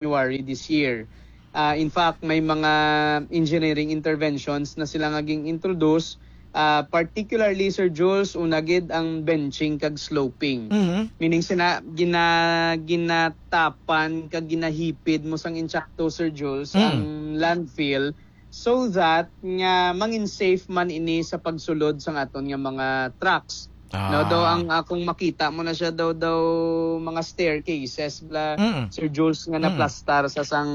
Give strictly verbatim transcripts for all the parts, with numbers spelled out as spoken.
January this year. Ah, in fact, may mga engineering interventions na sila nga ging-introduce, ah, particularly, Sir Jules, una gid ang benching kag sloping. Mhm. Meaning sina, gina-, ginatapan kag ginahipid mo sang insakto, Sir Jules, Mm. ang landfill so that nga mangin safe man ini sa pagsulod sang aton nga mga trucks. No, daw Ah. ang akong makita mo na siya daw, daw mga staircases bla, Mm. Sir Jules, nga Mm. naplastar sa sang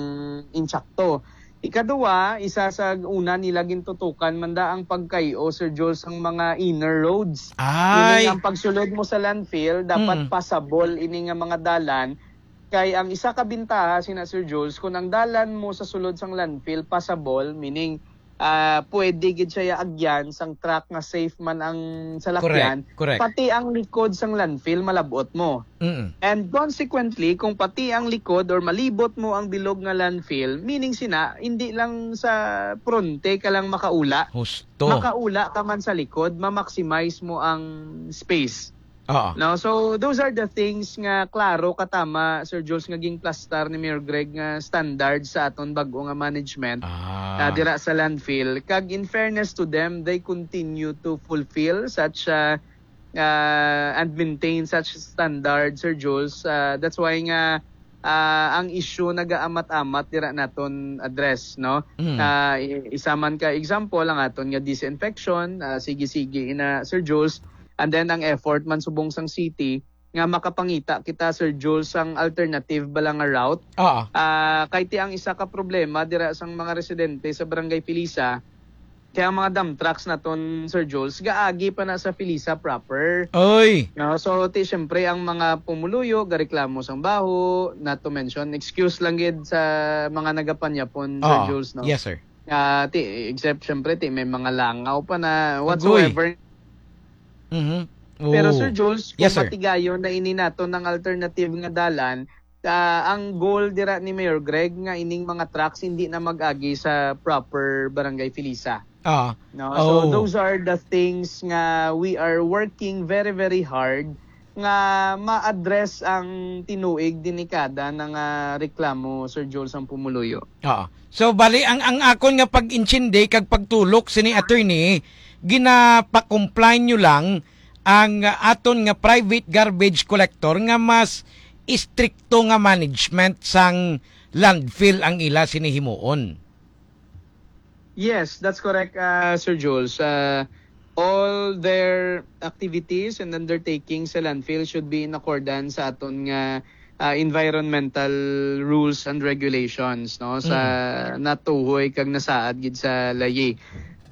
insakto. Ikaduwa, isa sa una nila gintutukan man da ang pagkay-o, Sir Jules, ang mga inner roads. Meaning, Ay. ang pagsulod mo sa landfill, dapat Mm. passable ini nga mga dalan. Kay ang isa ka bintaha sina Sir Jules, kung ang dalan mo sa sulod sang landfill passable, meaning, ah, pwede gid siya agyan sang truck nga safe man ang salakyan, Correct, correct. pati ang likod sang landfill malab-ot mo. Mm. And consequently, kung pati ang likod or malibot mo ang bilog nga landfill, meaning sina, hindi lang sa pronte ka lang makaula, Husto. makaula ka man sa likod, ma-maximize mo ang space. Oo. No? So, those are the things nga klaro katama, Sir Jules, nga ginplastar ni Mayor Greg nga standard sa aton bag-o nga management, Ah. ah, dira sa landfill. Kag in fairness to them, they continue to fulfill such, ah, ah, and maintain such standard, Sir Jules. Ah, that's why nga, ah, ang issue nagaamat-amat dira naton address, no? Mm. Ah, i-, isa man ka example ang aton nga disinfection, ah, sige-sige ina, Sir Jules. And then ang effort man subong sang city nga makapangita kita, Sir Jules, sang alternative bala nga route. Oo. Ah, kay ti ang isa ka problema dira sang mga residente sa Barangay Felisa, kaya ang mga dump trucks naton, Sir Jules, gaagi pa na sa Felisa proper. Oy! No, so, ti, syempre, ang mga pumuluyo, gareklamo sang baho, not to mention, excuse lang gid sa mga nagapanyapon, Sir Oo. Jules, no? Yes, sir. Ah, ti, except, syempre, ti, may mga langaw pa na Agoy. whatsoever. Mhm. Pero, Oo. Sir Jules, Yes, kung sir. matigayon na ini nato ng alternative nga dalan, ah, ang goal dira ni Mayor Greg nga ining mga trucks hindi na mag-agi sa proper Barangay Felisa. Ah. No? So, Oh. those are the things nga we are working very, very hard nga ma-address ang tinuig, delikada na nga reklamo, Sir Jules, ang pumuluyo. Oo. So, bali, ang, ang akon nga pag-intindi kag pagtulok sini, attorney, ginapa-comply nyo lang ang, ah, aton nga private garbage collector nga mas istrikto nga management sang landfill ang ila sini himuon. Yes, that's correct, ah, Sir Jules. Ah, all their activities and undertakings sa landfill should be in accordance sa aton nga, ah, environmental rules and regulations, no, sa Mm. natuhoy kag nasaad gid sa layi.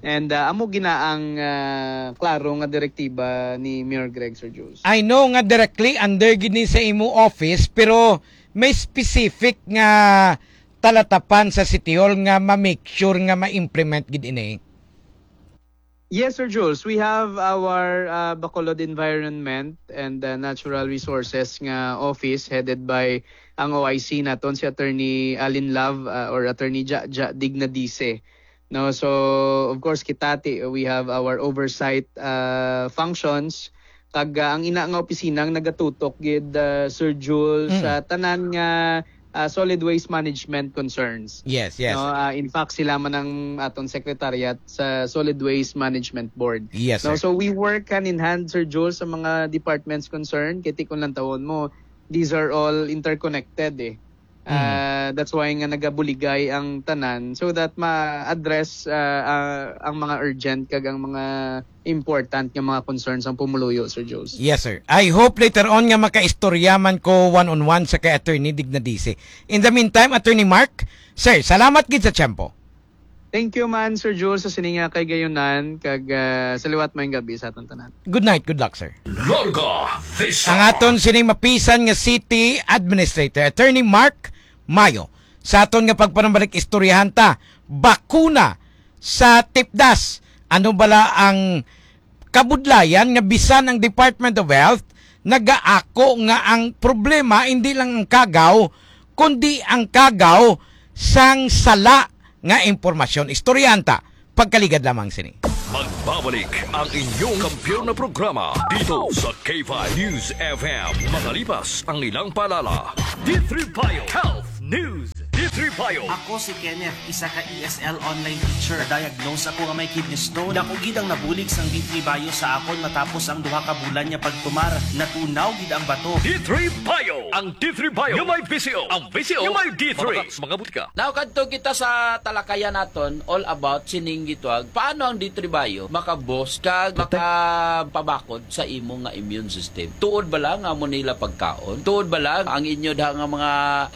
And, ah, amo gina ang, ah, klaro nga direktiba ni Mayor Greg, Sir Jules. I know nga directly under gid ni sa imo office, pero may specific nga talatapan sa City Hall nga ma-make sure nga ma-implement gid ini? Yes, Sir Jules. We have our, uh, Bacolod Environment and, uh, Natural Resources nga office headed by ang O I C naton, si Attorney Alin Love, uh, or Attorney Ja, Ja Dignadice. No, so, of course, kita ti, we have our oversight, uh, functions. Kag, uh, ang ina nga opisina ang nagatutok gid, uh, Sir Jules, Mm. sa tanan nga, uh, solid waste management concerns. Yes, yes. No, uh, in fact, sila man ang aton secretariat sa Solid Waste Management Board. Yes, No, sir. so we work hand in hand, Sir Jules, sa mga departments concerned. Kay ti kung lantawon mo, these are all interconnected eh. Mm. Uh, that's why nga nagabuligay ang tanan so that ma-address, uh, uh, ang mga urgent kag ang mga important nga mga concerns ang pumuluyo, Sir Jules. Yes, sir. I hope later on nga makaistorya man ko one-on-one sa kay Attorney Dignadice. In the meantime, Attorney Mark, sir, salamat gid sa tiyempo. Thank you man, Sir Jules, sa sini nga kay gayunan, kag, ah, sa liwat, maayong gabi sa aton tanan. Good night, good luck, sir. Larga Vista. Ang aton sining mapisan nga City Administrator, Attorney Mark Mayo. Sa aton nga pagpanumbalik, istoryahan ta, bakuna sa tipdas. Ano bala ang kabudlayan nga bisan ang Department of Health nagaako nga ang problema hindi lang ang kagaw, kundi ang kagaw sang sala nga impormasyon. Istoryahan ta, pagkaligad lamang sini. Magbabalik ang inyong kampiyon na programa dito sa K five News F M. Makalipas ang ilang paalala. D three Bio Health News, D three Bio. Ako si Kenneth, isa ka E S L online teacher. Na-diagnose ako nga may kidney stone. Dako gid ang nabulig sang D three Bio sa akon matapos ang duha ka bulan nga pagtumar. Natunaw gid ang bato. D three Bio. Ang D three Bio nga may V C O. Ang V C O nga may D three. Mga butika. Now, kadto kita sa talakayan naton, all about sining gitawag, paano ang D three Bio makaboost kag makapabakod sa imo nga immune system? Tuod ba lang amo nila pagkaon? Tuod ba lang ang inyo da nga mga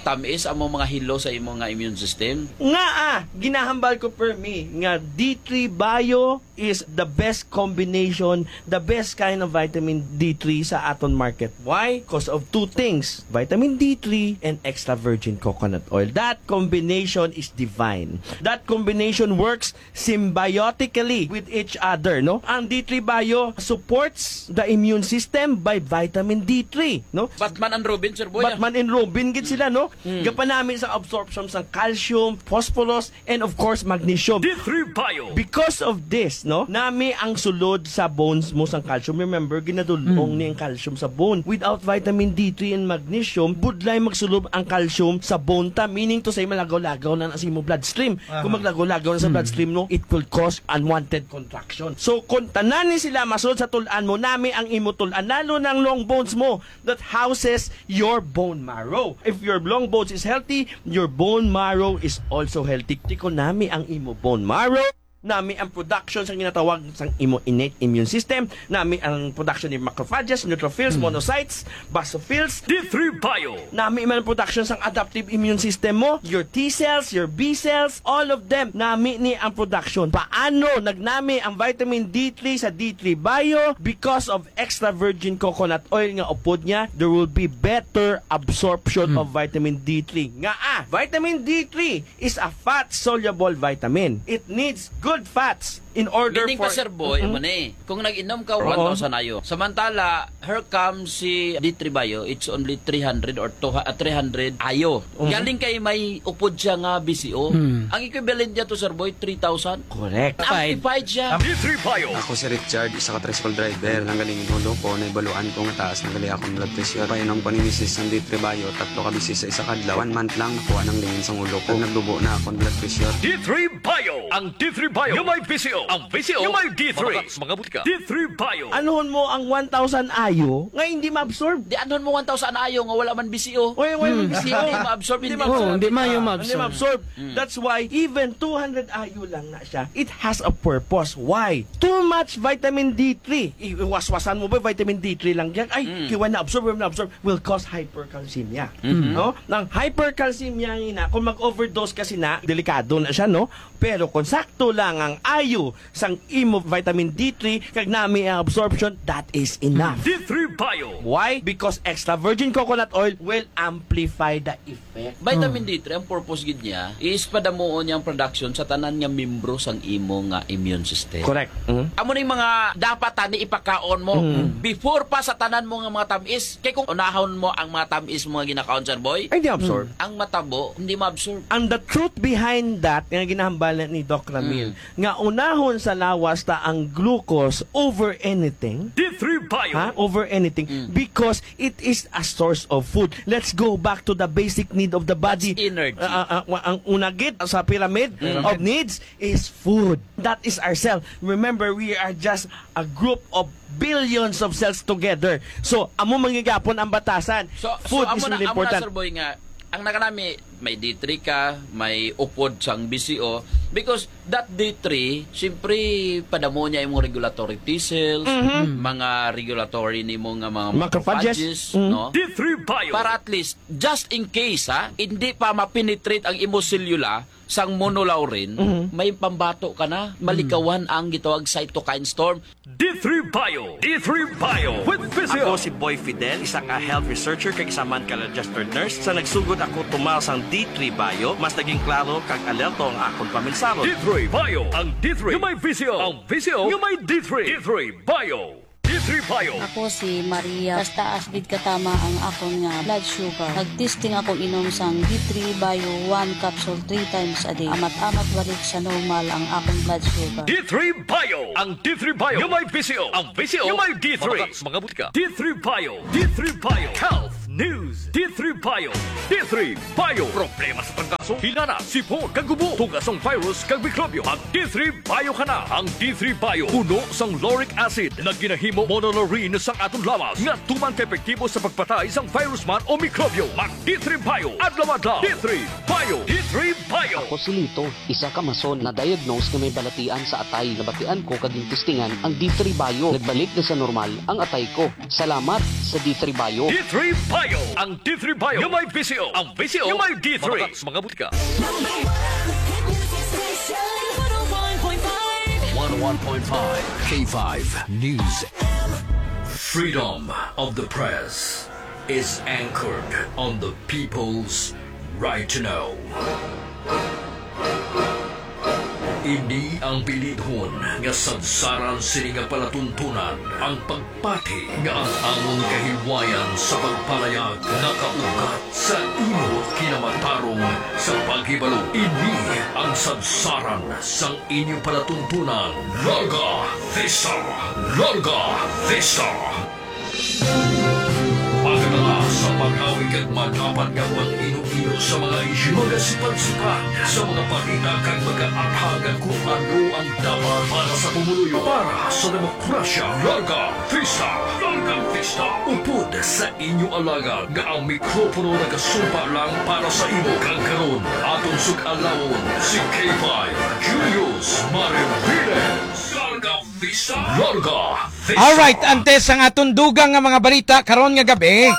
tamis amo mga hilo sa imo nga immune system? Nga, ah, ginahambal ko, permi, nga D three Bio is the best combination, the best kind of vitamin D three sa aton market. Why? Because of two things, vitamin D three and extra virgin coconut oil. That combination is divine. That combination works symbiotically with each other, no? Ang D three Bio supports the immune system by vitamin D three, no? Batman and Robin, Sir Boy, ah. Batman and Robin gid sila, no? Mm. Gapanami sa absorption sang calcium, phosphorus, and of course, magnesium. D three Bio. Because of this, no? Nami ang sulod sa bones mo sang calcium. Remember, ginadul-ong Mm. ni ang calcium sa bone. Without vitamin D three and magnesium, budlay magsulod ang calcium sa bone ta, meaning to say, malagaw-lagaw na na sa imo bloodstream. Kung Aha. maglagaw-lagaw na sa Hmm. bloodstream, no, it will cause unwanted contraction. So, kung tanan ni sila masulod sa tul-an mo, nami ang imo tul-an, lalo na ang long bones mo that houses your bone marrow. If your long bones is healthy, your bone marrow is also healthy. Ti kung nami ang imo bone marrow, nami ang production sa ginatawag sang imo innate immune system, nami ang production ni macrophages, neutrophils, Hmm. monocytes, basophils. D three Bio. Nami man ang production sang adaptive immune system mo, your T cells, your B cells, all of them. Nami ni ang production. Paano nagnami ang vitamin D three sa D three Bio? Because of extra virgin coconut oil nga upod niya, there will be better absorption Hmm. of vitamin D three. Nga, ah, vitamin D three is a fat-soluble vitamin. It needs good fats in order Meaning for pa, Sir Boy, Mm-mm. amo ni, kung nag-inom ka Oo. one thousand ayo, samantala, here comes si D three Bio, it's only three hundred or two, ah, three hundred ayo. Mm. Galing kay may upod siya nga B C O. Mm. Ang equivalent niya to, Sir Boy, three thousand. Correct. Amplified siya. D three Bio. Ako si Richard, isa ka tricycle driver. Nanggaling in ulo ko, naibaluan ko nga taas na gali akong blood pressure. Painom ko ni misis sang D three Bio, tatlo ka beses sa isa ka adlaw. One month lang, nakuha nang lingin sang ulo ko. Nagdubo na akong blood pressure. D three Bio. Ang D three Bio nga may V C O. Ang V C O nga may D three. Mga butika. D three Bio. Anuhon mo ang one thousand ayo nga hindi ma-absorb? Di, anuhon mo one thousand ayo nga wala man V C O? Oy, wala man Hmm. V C O. Hindi ma-absorb, Hindi hindi ma-absorb. ma-absorb. Oo, hindi maayo Ah, ma-absorb. hindi ma-absorb. Hmm. That's why even two hundred ayo lang na siya, it has a purpose. Why? Too much vitamin D three. I-, iwaswasan mo ba vitamin D three lang yan? Ay, Mm. kiwa na-absorb, wala na-absorb. Will cause hypercalcemia. Mm-hmm. No? Ang hypercalcemia nga na, kung mag-overdose kasi na, delikado na siya, no? Pero kung sakto lang ang ayo sang imo vitamin D three, kag nami ang absorption, that is enough. D three Bio. Why? Because extra virgin coconut oil will amplify the effect. Vitamin Hmm. D three, ang purpose gid niya is padamuon niya ang production sa tanan nga membro sang imo nga immune system. Correct. Mm. Amo ning mga dapat tani ipakaon mo Mm. before pa sa tanan mo nga mga tamis. Kay kung unahon mo ang mga tamis mo nga ginakaon, Sir Boy, Ay, di absorb. ang matabo hindi ma-absorb. And the truth behind that, nga ginahambal ni Doc Ramil, Mm. nga unahon sa lawas ta ang glucose over anything. D three Bio. Ha? Over anything. Mm. Because it is a source of food. Let's go back to the basic need of the body. That's energy. Ah, ah, ah, wa-, ang una gid sa pyramid Pyramid. of needs is food. That is our cell. Remember, we are just a group of billions of cells together. So, amo man gihapon ang batasan. So, Food so, is amo na, really amo na, important. Sir Boy, nga ang nakanami, may D three ka, may upod sang V C O, because that D three, siyempre, padamo niya imong regulatory T cells, Mhm. mga regulatory nimo nga mga Macrophages. macrophages, Mhm. no? D three Bio. Para at least, just in case, ha, hindi pa ma-penetrate ang imo selula sang monolaurin, Mhm. may pambato ka na, malikawan ang gitawag cytokine storm. D three Bio. D three Bio with Physio. Ako si Boy Fidel, isa ka health researcher kag isa man ka registered nurse. Sa nagsugod ako tumal sang D three Bio, mas naging klaro kag alerto ang akon paminsaro. D three Bio. Ang D three nga may V C O. Ang V C O nga may D three. D three Bio. D three Bio. Ako si Maria. Taas-taas gid katama ang akon nga blood sugar. Nag-testing ako inom sang D three Bio one capsule three times a day. Amat-amat balik sa normal ang akon blood sugar. D three Bio. Ang D three Bio nga may V C O. Ang V C O nga may D three. Mga, mga butika. D three Bio. D three Bio. Health News, D three Bio. D three Bio. Problema sa trangkaso, hilana, sipon, kag ubo, tunga sang virus kag mikrobyo. Mag D three Bio ka na. Ang D three Bio puno sang lauric acid nga ginahimo monolaurin sang aton lawas nga tuman ka epektibo sa pagpatay sang virus man o mikrobyo. Mag D three Bio adlaw-adlaw. D three Bio. D three Bio. Ako si Lito, isa ka mason na diagnose nga may balatian sa atay. Nabatian ko kag gintistingan ang D three Bio. Nagbalik na sa normal ang atay ko. Salamat sa D three Bio. D three Bio. Ang D three Bio nga may V C O. Ang V C O nga may D three. Mabakak sa mga butika. Number one hit music station, one oh one point five. One oh one point five K five News. Freedom of the press is anchored on the people's right to know. Ini ang bilidhon nga sadsaran sini nga palatuntunan, ang pagpati nga ang amon kahilwayan sa pagpalayag nakaugat sa imo kinamatarong sa paghibalo. Ini ang sadsaran sang inyo palatuntunan. Larga Vista! Larga Vista! Pagkatala sa pagawig kag madapat nga pang-ino-ino sa mga isyu, mga sipad-sipad sa mga balita kag mag-aathagan kung ano ang dapat para sa pumuluyo, para sa demokrasya. Larga Vista! Larga Vista! Upod sa inyo alagad nga ang mikropono nagasumpa lang para sa imo, kag karon aton sug-alawon si K five Julius Mariviles. Larga Vista! Larga Vista! Alright, antes ang aton dugang nga mga balita karon nga gabi,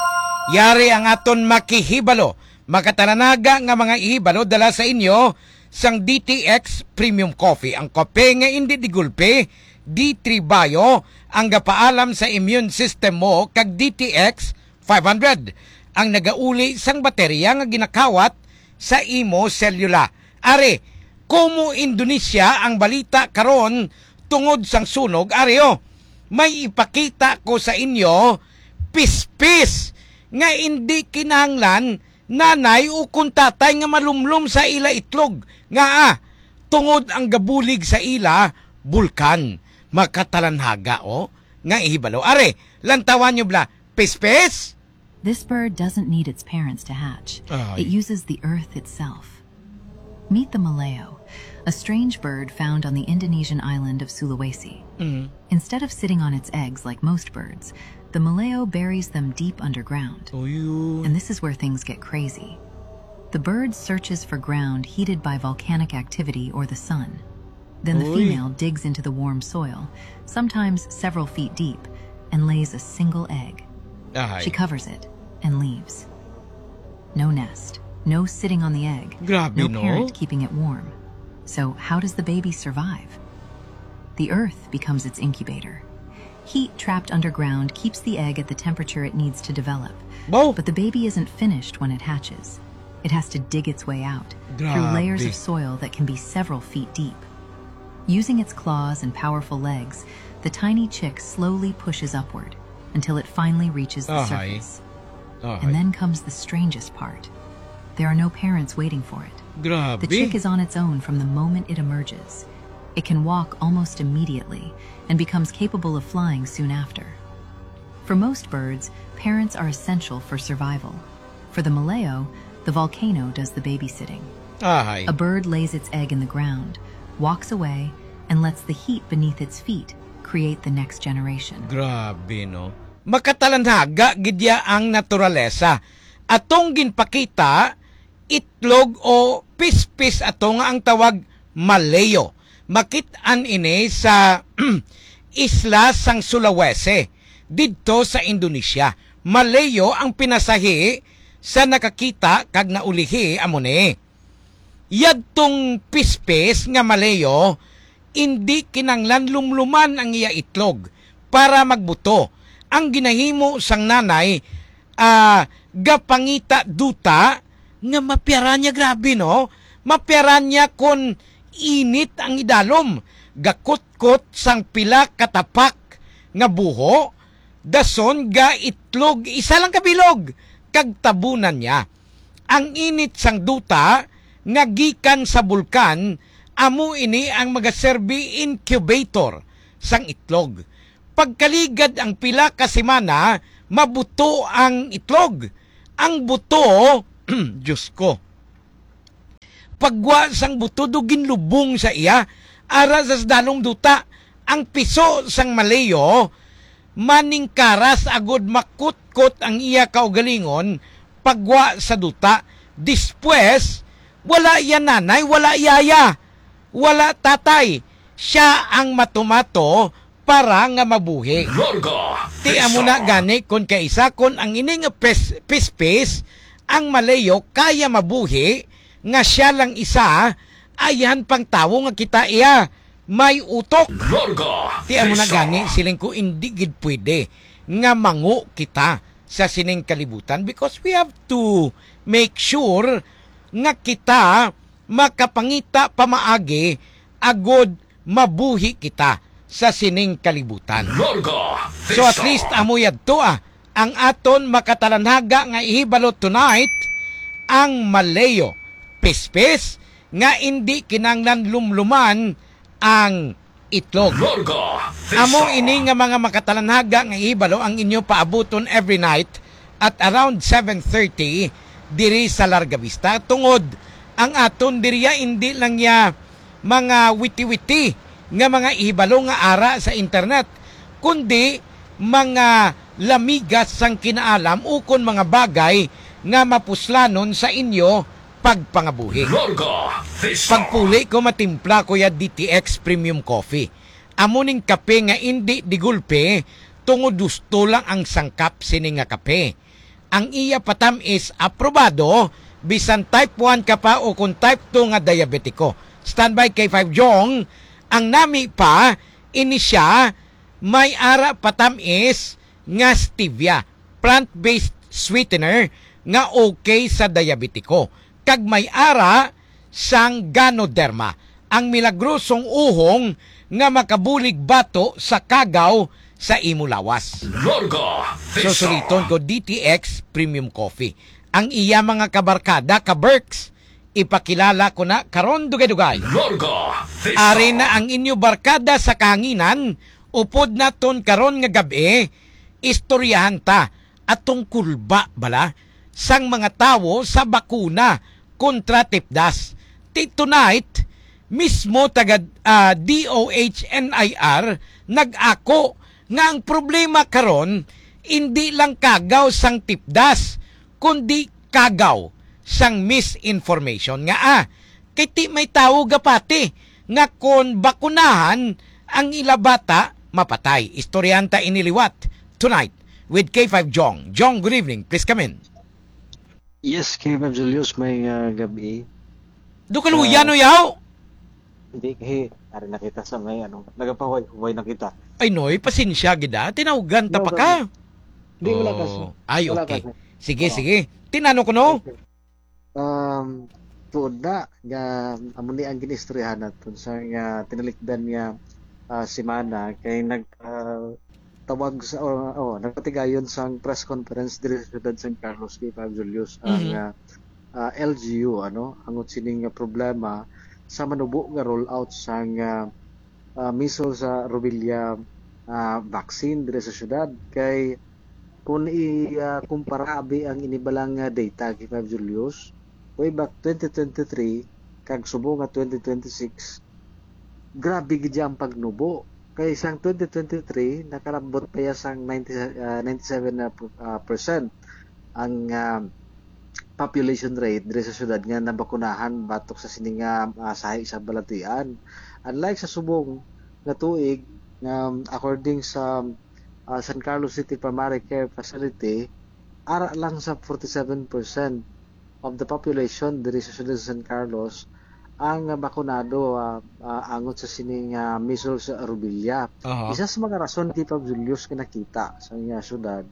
yari ang aton makihibalo, makatalanaga nga mga ihibalo dala sa inyo sang D T X Premium Coffee, ang kape nga indi digulpi. D three Bio ang gapaalam sa immune system mo, kag D T X five hundred ang nagauli sang baterya nga ginakawat sa imo selula. Ari, Kumu Indonesia ang balita karon tungod sang sunog. Ari, oh, may ipakita ko sa inyo, pispis nga indi kinahanglan nanay o kon tatay nga malumlom sa ila itlog, nga, ah, tungod ang gabulig sa ila bulkan. Makatalanhaga, oh, nga ihibalo. Ari, lantawan nyo bala, pispis? This bird doesn't need its parents to hatch. Ah, It ay. uses the earth itself. Meet the maleo, a strange bird found on the Indonesian island of Sulawesi. Mm. Instead of sitting on its eggs like most birds, the maleo buries them deep underground. Uy. And this is where things get crazy. The bird searches for ground heated by volcanic activity or the sun. Then the Uy. female digs into the warm soil, sometimes several feet deep, and lays a single egg. Ahay. She covers it and leaves. No nest, no sitting on the egg, Grabe, no no? parent keeping it warm. So how does the baby survive? The earth becomes its incubator. Heat trapped underground keeps the egg at the temperature it needs to develop. Wow. But the baby isn't finished when it hatches. It has to dig its way out through layers Grabe. of soil that can be several feet deep. Using its claws and powerful legs, the tiny chick slowly pushes upward until it finally reaches the Ahay. surface. Ahay. And then comes the strangest part. There are no parents waiting for it. Grabe. The chick is on its own from the moment it emerges. It can walk almost immediately and becomes capable of flying soon after. For most birds, parents are essential for survival. For the maleo, the volcano does the babysitting. Ahay. A bird lays its egg in the ground, walks away, and lets the heat beneath its feet create the next generation. Grabe, no? Makatalanhaga gid ya ang naturalesa. Atong ginpakita, itlog o pispis ato nga ang tawag maleo. Makit-an ini sa isla sang Sulawesi, didto sa Indonesia. Maleo ang pinasahi sa nakakita kag naulihi amo ni. Yadtong pispis nga maleo, indi kinanglan lumluman ang iya itlog para magbuto. Ang ginahimo sang nanay, ah, gapangita duta nga mapiara niya, grabe, no? Mapiara niya kon init ang idalom, gakutkot sang pila ka tapak nga buho, dason gaitlog isa lang ka bilog, kag tabunan niya. Ang init sang duta nga gikan sa bulkan, amo ini ang magaserbi incubator sang itlog. Pagkaligad ang pila ka semana, mabuto ang itlog. Ang buto, Diyos ko, pagwa sang buto do ginlubong sa iya, ara sa sadalong duta, ang piso sang Maleo maningkaras agod makutkot ang iya kaugalingon pagwa sa duta. Despues, wala iya nanay, wala yaya, wala tatay. Sia ang matumato para nga mabuhi. Larga Ti amo na Vista. Gani kon kaisa kon ang ini nga pis-, pispis ang Maleo kaya mabuhi nga sia lang isa, ayhan pang tawo nga kita iya may utok. Larga Ti amo na Vista. Gani, siling ko, indi gid pwede nga mangu kita sa sining kalibutan because we have to make sure nga kita makapangita pamaagi agod mabuhi kita sa sining kalibutan. Larga So at Vista. Least amo yadto, ah, ang aton makatalanhaga nga ihibalo tonight, ang Maleo pispis nga indi kinanglan lumluman ang itlog. Larga Vista. Amo ini nga mga makatalanhaga nga ihibalo ang inyo paabuton every night at around seven thirty diri sa Larga Vista, tungod ang aton diriya indi lang ya mga witi-witi nga mga ihibalo nga ara sa internet, kundi mga lamigas sang kinaalam ukon mga bagay nga mapuslanon sa inyo pagpangabuhi. Larga Vista. Pagpuli ko, matimpla ko ya D T X Premium Coffee. Amo ning kape nga indi digulpe, tungod husto lang ang sangkap sini nga kape. Ang iya patam-is aprobado, bisan type one ka pa o kung type two nga diabetiko. Standby K five Jong, ang nami pa, ini siya, may ara patam-is nga stevia, plant-based sweetener nga okay sa diabetiko, kag may ara sang Ganoderma, ang milagrosong uhong nga makabulig bato sa kagaw sa imo lawas. Larga Vista. Susuliton ko D T X Premium Coffee. Ang iya mga kabarkada, ka-Berks, ipakilala ko na karon dugay-dugay. Larga Vista. Ari na ang inyo barkada sa kahanginan, upod naton karon nga gab-i, istoryahan ta atong kulba bala sang mga tawo sa bakuna kontra tipdas. Ti tonight, mismo taga, ah, D O H N I R nag-ako nga ang problema karon indi lang kagaw sang tipdas, kundi kagaw sang misinformation nga, ah, kay ti may tawo gapati nga kon bakunahan ang ila bata, mapatay. Istoryahan ta ini liwat tonight with K five Jong. Jong, good evening. Please come in. Yes, K five Julius, may, ah, gabi. Do kaluyan, Ah, no, yaw? Hindi, kay ari na kita sa may, ano, nagapahuway-huway na kita. Ay, noy, pasensya gid, ah. Tinawgan ta No pa ka. problem. Hindi, wala ka, Oh, sir. Ay, Wala ka, okay. sir. Sige, Oo. Sige. Tinano ko, no? Okay. Um, tuod na, nga, amo ni ang ginistoryahan naton sa nga tinalikdan nga, ah, semana kay nag, ah, tawag sa, oh, oh, nagpatigayon sang press conference diri sa siyudad San Carlos, K five Julius, ang, Mhm. ah, ah, L G U, ano, ang sining nga problema sa manubo nga rollout sang, ah, ah, measles sa rubella, ah, vaccine diri sa siyudad. Kay kung i, ah, kumpara abi ang inibalang nga data, K five Julius, way back twenty twenty-three kag subong nga twenty twenty-six, grabe gid ang pagnubo. Kay sang twenty twenty-three, nakalabot pa iya sang ninety, ah, ninety-seven na, ah, percent ang, ah, population rate diri sa syudad nga nabakunahan batok sa sini nga, ah, sahi sa balatian. Unlike sa subong nga tuig, nga, according sa, ah, San Carlos City Primary Care Facility, ara lang sa forty-seven percent of the population diri sa siyudad sa San Carlos ang, ah, bakunado, ah, ah, angot sa sining, ah, measles, ah, rubella. Aha. Isa sa mga rason, Tito Julius, nga nakita sa nga syudad,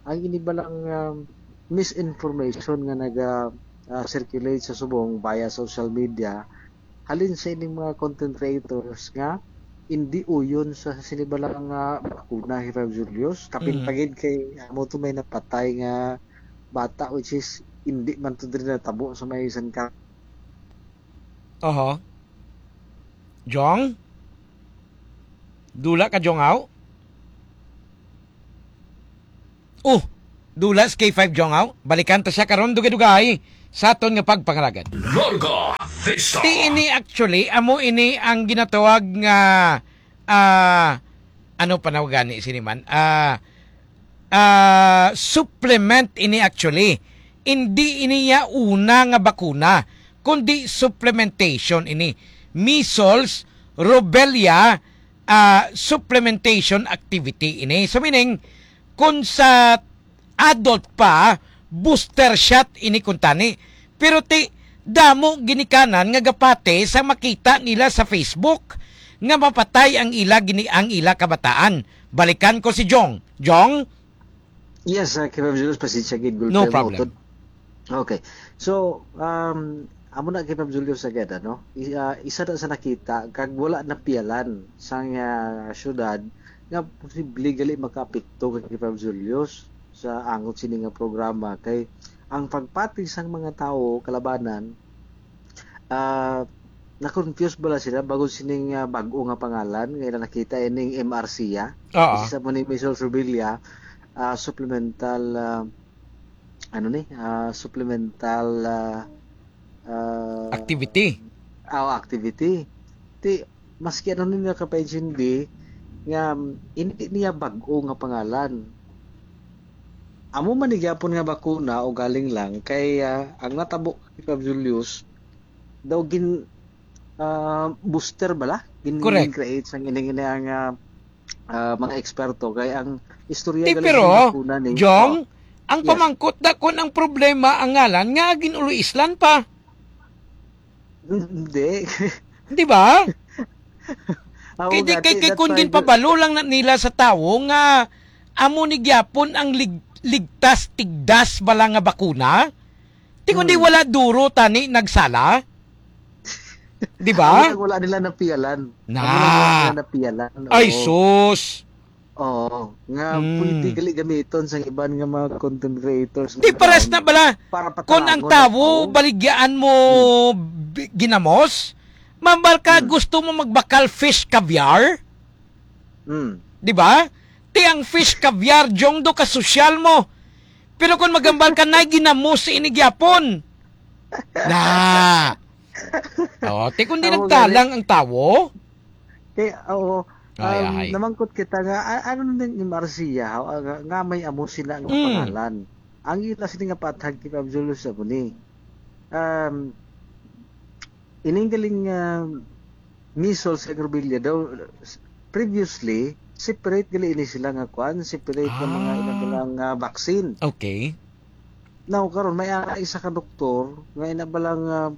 ang inibalang, ah, misinformation nga naga, ah, circulate sa subong via social media, halin sa ining mga content creators nga hindi uyon sa sinibalang nga bakuna, Tito Julius. Kapin Mm. pa gid kay amo to may napatay nga bata, which is hindi man to diri natabo sa may San Car- Aha. Jong? Dula ka, Jong, aw? Oh! Dula sa K five Jong, aw. Balikan ta siya karon, dugay-dugay sa aton nga pagpangalagad. Larga Vista. Ti ini actually, amo ini ang ginatawag nga, ah, ano pa na gani sini man? Ah, ah, supplement ini actually. Hindi ini ya una nga bakuna, kundi supplementation ini. Measles, rubella, ah, supplementation activity ini. So meaning, kung sa adult pa, booster shot ini kuntani. Pero ti, damo ginikanan nga gapati sa makita nila sa Facebook nga mapatay ang ila gini ang ila kabataan. Balikan ko si Jong. Jong? Yes, uh, Kevin Julius, pasensya gid, gulpe. No problem. Utod. Okay. So, um, amo na, Kevin Julius, agad, ano? I- ah, isa na sa nakita, kag wala napiyalan sang ah, syudad nga posible gali makaapekto kay Kevin Julius sa angot sini nga programa. Kay ang pagpati sang mga tawo, kalabanan, ah, na-confuse bala sila bago sining ah, bag-o nga pangalan nga ila nakita ining M R C, ah. Oo. Isa mo ni Michelle Subilia, ah, supplemental, ah, ano ni, ah, supplemental, ah, ah, Activity. ah, activity. Ti, maski ano nila kapaintindi nga, mm, hindi niya bag-o nga pangalan. Amo man ni gyapon nga bakuna o galing lang kay, ah, ang natabo kay Pab Julius daw gin, ah, booster bala? Gin, Correct. gin-create sang ining, ining, ah, ah, mga eksperto. Kay ang istorya Ti, galing pero, sa bakuna ni, Jong, oh, ang yes. pamangkot na kun ang problema ang ngalan nga gin-ulo-islan pa. Hindi. Di ba? Ako Kay di nga, kay, ti, kay that's kun why ginpabalo lang na nila sa tawo nga amo ni gyapon ang lig-, ligtas tigdas bala nga bakuna. Ti kundi Hmm. wala duro tani nagsala. Di ba? Amo nang wala nila napiyalan. Na. Amo nang wala nila napiyalan. Ay, Oo. sus. Oo, nga Hmm. pwede gali gamiton sang iban nga mga content creators Di nga pares taon na bala. para Kung ang patalangon ang tawo, tawo. baligyaan mo Hmm. bi-, ginamos, mambal ka Hmm. gusto mo magbakal fish caviar? Hmm. Di ba? Ti ang fish caviar, Jong, do ka sosyal mo. Pero kung magambal ka na, ginamos ini gyapon. Na. Oh, ti kung di Amo nagtalang gani. ang tawo. Kay, oo, Ay, um, ay. namangkot kita nga, a-, ano na ni Marcia, ha, nga, nga may amo sila nga Mm. pangalan. Ang ila sini nga pathag kay Pab Julius sa ni. Um, ining galing, um, measles sa Agrobilla daw, s-, previously, separate gali ini sila nga kwan, separate nga mga Ah. ila nga vaccine. Okay. Now, karon may ara isa ka doktor nga ina ba lang, ah,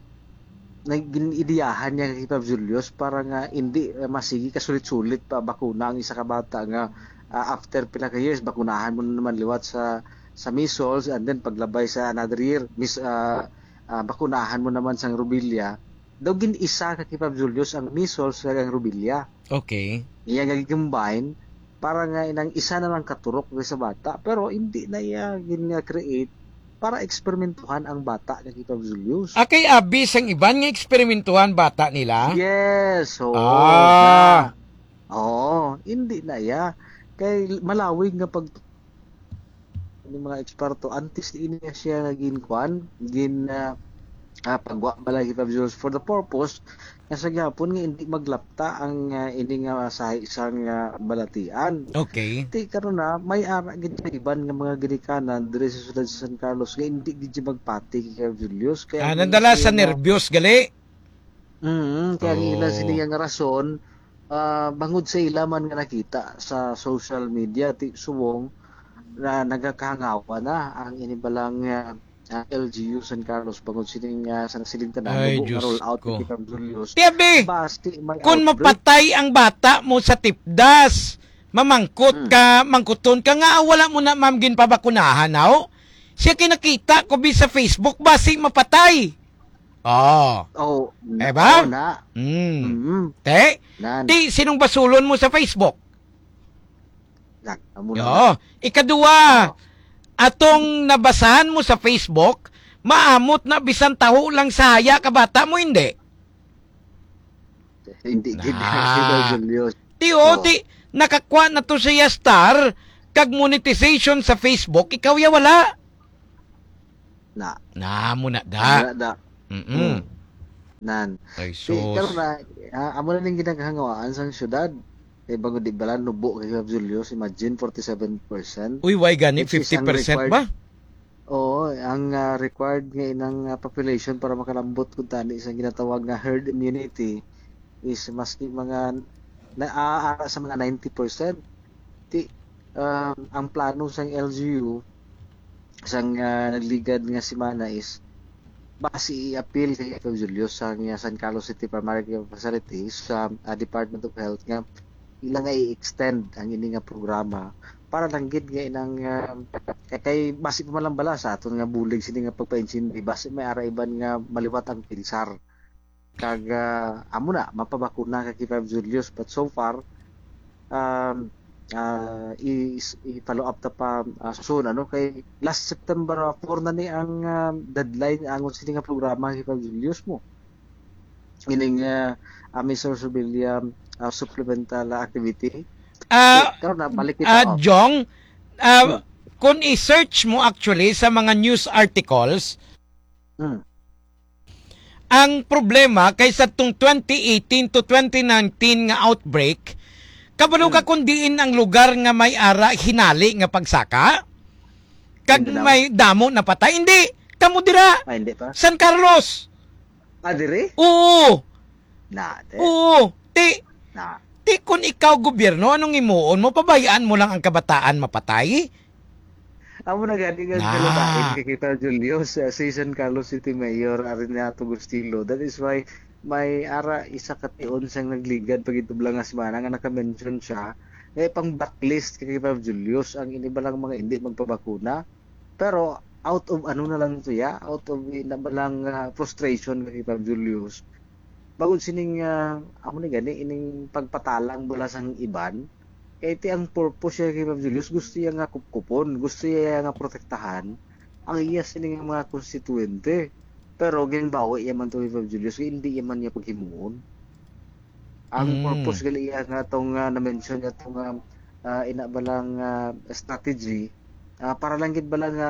nag-, gin-ideyahan niya kay Pab Julius para nga indi, ah, masigi ka sulit-sulit pa bakuna ang isa ka bata nga, ah, after pila ka years, bakunahan mo na naman liwat sa, sa measles, and then paglabay sa another year, mis-, ah, ah, bakunahan mo naman sang rubella. Daw gin-isa ka kay Pab Julius ang measles kag ang rubella. Okay. Iya nga gi-combine para nga inang isa na lang katurok sa bata, pero hindi na iya gin-create para eksperimentuhan ang bata nga kay Pab Julius. Ah, kay abi sang iban nga eksperimentuhan bata nila? Yes, oo, Ah. na. Oo, hindi na iya. Kay malawig nga pag ni mga eksperto, antes ini nga siya nga ginkuan, gin, ah, ah, pagwa bala kay Pab Julius for the purpose nga sa gihapon nga hindi maglapta ang, ah, ini nga sahi sang, ah, balatian. Okay. Ti karon na, may ara gid sa iban nga mga ginikanan diri sa siyudad sa San Carlos nga hindi gid siya magpati kay Pab Julius. Kaya Ah, ang nadala ila sa siya nga nerbiyos, gali? Mm, kaya ang ila Oo. sini nga rason, ah, bangod sa ila man nga nakita sa social media, ti subong na nagakahangawa na ang ini balang, ah, ah, L G U San Carlos bangod sining, ah, sa nasiling tanan, Ay, mubo nga Diyos roll out ko. ni Pab Julius. Ti abi, Basi may kung outbreak. mapatay ang bata mo sa tipdas, mamangkot Hmm. ka, mangkuton ka nga, "Ah, wala mo na, ma'am, ginpabakunahan, aw?" Siya kinakita ko bi sa Facebook, basi mapatay. Oh. Oh, Eh ba? oo na. Mm. Mm. Te, Nan. Ti, sinong basulon mo sa Facebook? Yan, amo na Oo. na. Ikaduha, Oo. atong nabasahan mo sa Facebook, maamot na bisan taho lang sa haya ka bata mo, hindi? Hindi gid Na. si Pab Julius. Ti, oh, Oo. ti, nakakuha na to siya star, kag monetization sa Facebook, ikaw ya wala. Na. Na mo na da. Wala da. Mm-mm. Mm. Nan. Ay, Si, sus. karon na, ah, amo na ning ginakahangawaan sang syudad. Kay bangod di bala nubo kay Julio, imagine, forty-seven percent. Uy, why gani? Which is ang fifty percent required ba? Oo, ang, ah, required nga inang, ah, population para makalambot kung tani sa ginatawag nga herd immunity is maski mga na, ah, ara sa mga ninety percent. Ti, um, ang plano sang L G U sang, ah, nagligad nga semana is basi i-appeal kay Ikaw Julio sang, ah, San Carlos City Primary Care Facility sa, ah, Department of Health nga ila nga i-extend ang ini nga programa para lang gid nga inang, ah, kay, kay basi pa man lang bala sa aton nga bulig sini nga pagpaintindihi, basi may ara iban nga maliwat ang pinsar. Kag, ah, amo na, mapabakuna ka kay Five Julius. But so far, um, ah, i-, i-follow up ta pa, ah, soon, ano? Kay last September, ah, four na ni ang, ah, deadline angon sini nga programa kay Five Julius mo. Ining, ah, ah, Mister Subilia, ah, supplemental activity. Ah, Eh, karon na, balik kita, ah, oh. Jong, ah, Hmm. kung i-search mo actually sa mga news articles, Hmm. Ang problema kay sa tong twenty eighteen to twenty nineteen nga outbreak, kabalo ka Hmm. kung diin ang lugar nga may ara hinali nga pagsaka? Kag Mindanao? may damo napatay? Hindi. Kamo dira. Ah, hindi pa? San Carlos. Ah, diri? Oo. Na, te. Oo. Ti, Na. ti kung ikaw gobyerno, anong imuon mo? Pabayaan mo lang ang kabataan mapatay? Amo na gani nga Na. Kalabain kay kita, Julio, sa, si San Carlos City Mayor, Arinato Gustilo. That is why may ara isa ka tion sang nagligad pagitublang nga semana nga naka-mention siya. Eh, pang blacklist kay kita, Julius, ang ini balang mga hindi magpabakuna. Pero out of ano na lang to ya, out of ina balang, ah, frustration kay kita, Julius. Bangod sining, ah, amo ni gani, ining pagpatalang bala sang iban, kay ti ang purpose siya kay Ma'am Julius, gusto iya nga kupkupon, gusto iya nga protektahan ang iya sini nga mga konstituyente. Pero ginbawi iya man to kay Ma'am Julius, kay hindi iya man niya paghimuon. Ang Mm. purpose gali iya nga tong, ah, na-mention niya tong, ah, ah, ina ba lang, ah, strategy, ah, para lang gid bala nga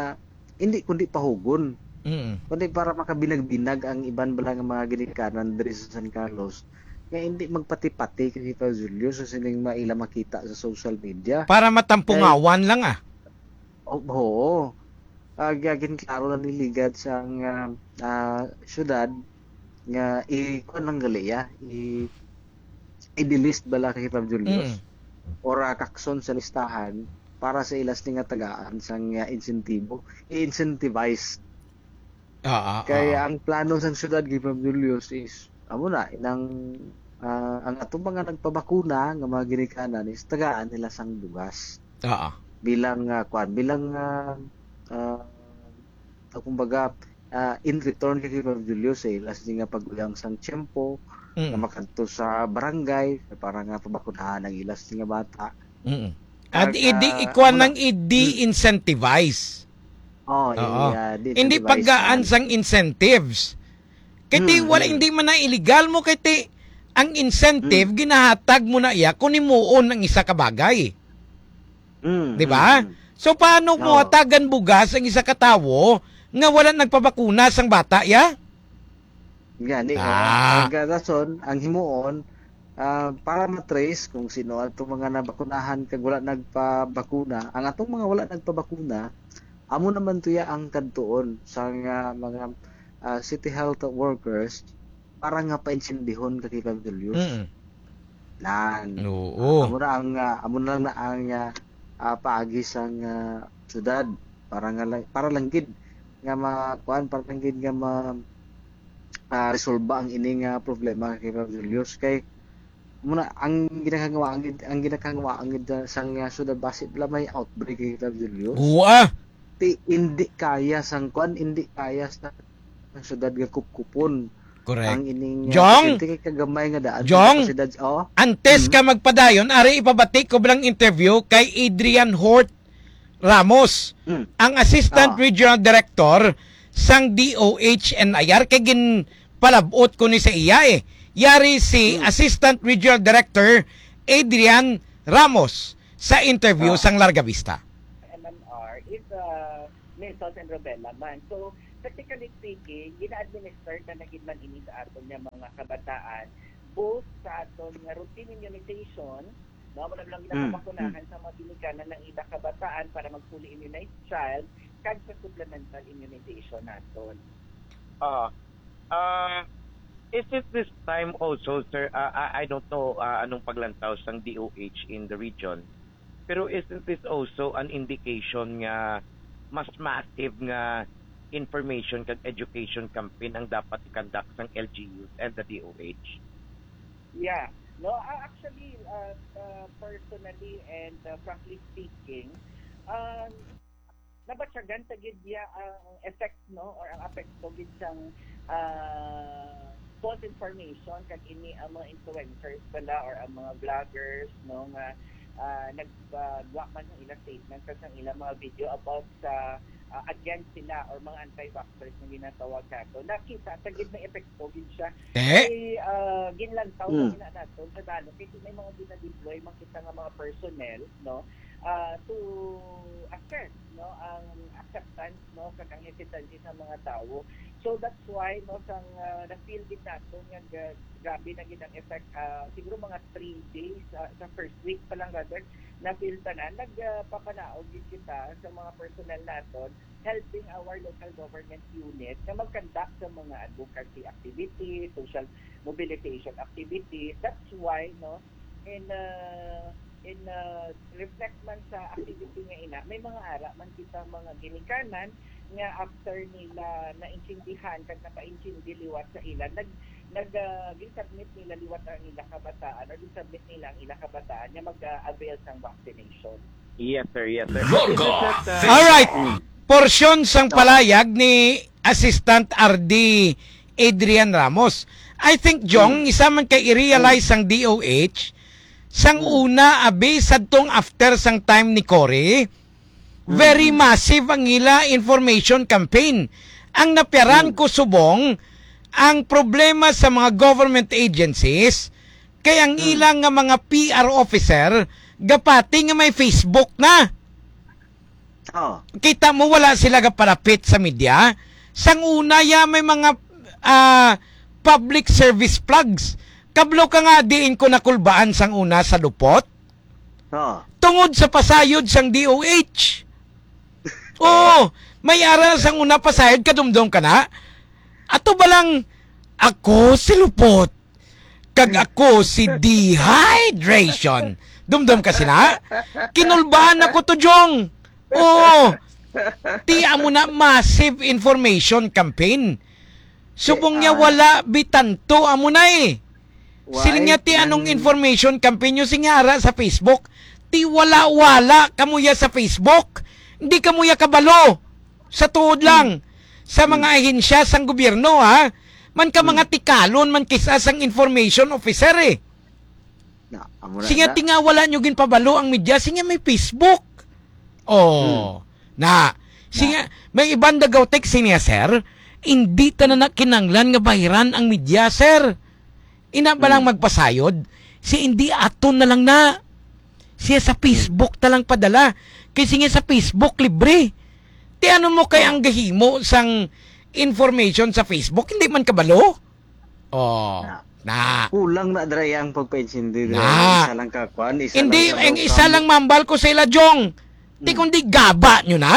hindi kundi pahugon. Mm. Kundi para makabinag-binag ang iban bala nga mga ginikanan diri sa San Carlos nga hindi magpati-pati kay Tito Julio sa sining maila makita sa social media. Para matampungawan Kay lang, ah. O-, oo. Ah, gagin klaro na niligad sang, ah, ah, syudad nga i-, kuwan lang gali, ah, i-, i-delist bala kay Tito Julius. Mm. Or, ah, kakson sa listahan para sa ilas ni nga tagaan sang, ah, insentibo. I-incentivize. Ah, ah, Kay ah. ang plano sang syudad kay Pam Julius is, amo na, inang, ah, ang atong mga nagpabakuna nga mga ginikanan is tagaan nila sang bugas. Ah, ah. Bilang, ah, kwan, bilang, ah, ah, ah, kumbaga, ah, in return kay Pam Julius sa ilas ni nga pag-uyang sang tiyempo, Mm. nga makadto sa barangay para nga pabakunahan ang ilas ni nga bata. Mm. At Kag, idi, ah, ikuan amo na. nang i-de-incentivize. Oh, Oo. i-, ah, Hindi de-incentivize paggaan man. sang incentives. Kay ti, Mm, wala, mm. hindi man na illegal mo, kay ti, ang incentive, Mm. ginahatag mo na iya kung himuon ang isa ka bagay. Mm, Di ba? mm, mm. So, paano mo Oo. hatagan bugas ang isa ka tawo nga wala nagpabakuna sang bata, ya? Gani, Ah. oh. Ang rason, ang himuon, ah, para matrace kung sino ato mga nabakunahan kag wala nagpabakuna, ang atong mga wala nagpabakuna, amo naman tuya ang kadtuon sa nga mga, ah, city health workers para nga paintsindihon ka kay Pam Julius. Mm. Nan. Oo. Ah, amo na ang, ah, amo na lang na ang, ah, ah, paagi sang, ah, syudad para nga lang, para lang gid nga ma-, kuan, para lang gid nga ma-, ah, resolba ang ini nga problema kay Pam Julius. Kay amo na ang ginakangwa-, ang gid-, ang ginakangwa-, ang gid-, sang, ah, syudad basi bala may outbreak kay Pam Julius. Guwa. Ti, hindi kaya sang kuan, hindi kaya sa ang syudad nga kupkupon Correct. ang ining, ah, Jong? pasyente kay kagamay nga daan sa Jong? kapasidad. Oh. Antes Mm. ka magpadayon, ari ipabati ko lang interview kay Adrian Hort Ramos, Mm. ang Assistant Ah. Regional Director sang D O H N I R, kay ginpalabot ko ni sa iya eh. Yari si Mm. Assistant Regional Director Adrian Ramos. sa interview sang Larga Vista. M M R is, uh, Measles and Rubella man. So, practically speaking, gina-administer na na gid man ini sa aton nga mga kabataan, both sa aton nga routine immunization, no, wala lang Mm, ginapabakunahan sa mga ginikanan ng ilang kabataan para mag fully immunized child, kag sa supplemental immunization naton. Ah, ah, is it this time also, sir? Ah, I, I don't know, ah, anong paglantaw sang D O H in the region, pero isn't this also an indication nga mas massive nga information kag education campaign ang dapat i-conduct sang L G Us and the D O H? Yeah. No, ah, actually, uh, uh, personally and, uh, frankly speaking, um, nabatyagan ta gid niya ang effect, no, or ang apekto gid sang, ah, false information kag ini ang mga influencers bala or ang mga vloggers, no, nga, ah, nagpagawa man ng ilang statement kag sang ilang mga video about sa, ah, against sila or mga anti-vaxxers na ginatawag nato. Nakita ta gid may epekto gid siya. Eh? Kay, ah, ginlantaw Hmm. na nato sa dalo kay may mga ginadeploy man kita nga mga personnel, no, ah, to assess, no, ang acceptance, no, kag ang hesitancy sa mga tawo. So that's why, no, sang, ah, na-feel gid nato nga ga-, grabe na gid ang effect, ah, siguro mga three days, ah, sa first week pa lang rather, na-feel tanan, nagpapanaog gid kita sa mga personnel naton helping our local government unit na mag-conduct sa mga advocacy activities, social mobilization activities. That's why, no, in, uh, in, uh, reflect man sa activity nga ina, may mga ara man kita mga ginikanan nga after nila naintindihan kag napaintindi liwat sa ila, nag, nag, uh, gisubmit nila liwat ang ila kabataan or gisubmit nila ang ila kabataan nga mag-avail sang vaccination. Yes, sir. Yes, sir. Is it that, uh, Alright. Mm. Porsyon sang palayag ni Assistant R D Adrian Ramos. I think, Jong, Mm. isa man kay i-realize Mm. sang D O H, sang Mm. una, abi, sadtong after sang time ni Cory, very Mm. massive ang ila information campaign. Ang napiaran Mm. ko subong, ang problema sa mga government agencies, kay ang Mm. ilang nga mga P R officer, gapati nga may Facebook na. Oh. Kita mo, wala sila gapalapit sa media. Sang una, ya, may mga, ah, public service plugs. Kablo ka nga, diin ko nakulbaan sang una sa lupot. Oh. Tungod sa pasayod sang D O H. Oo, may ara sang una pasayod, kadumdom ka na. Ato ba lang, ako si lupot? Kag ako si dehydration. Dumdom ka sina? Kinulbaan ako to, Jong. Oo. Ti amo na massive information campaign. Subong niya Ah. wala bitanto amo na eh. Why? Siling niya, ti anong Ang information campaign nyo? Siling niya, ara sa Facebook. Ti wala-wala kamo ya sa Facebook. Hindi kamo ya kabalo. Sa tuod Hmm. lang. Sa Hmm. mga ahensya sang gobyerno, ha? Man ka Hmm. mga tikalon, man kisa sang information officer, eh. Na, amo na Siling niya, na. Ti nga wala nyo ginpabalo ang media. Siling niya, may Facebook. Oh. Hmm. Na. Siling Na. niya, may iban dagaw text siling niya, sir. Hindi ta na na kinanglan nga bahiran ang media, sir. Ina ba lang Hmm. magpasayod? Si hindi aton na lang na. Siya sa Hmm. Facebook ta lang padala. Kay siling niya sa Facebook, libre. Ti ano mo kay Oh. ang gahimo sang information sa Facebook? Hindi man kabalo? Oh. Na. Na. Kulang na dira ang pagpaintindi dira. Na. Isa lang ka kwan, isa Hindi, lang ka ang isa lang mambal ko sa ila, Jong. Ti Hmm. kundi gaba nyo na?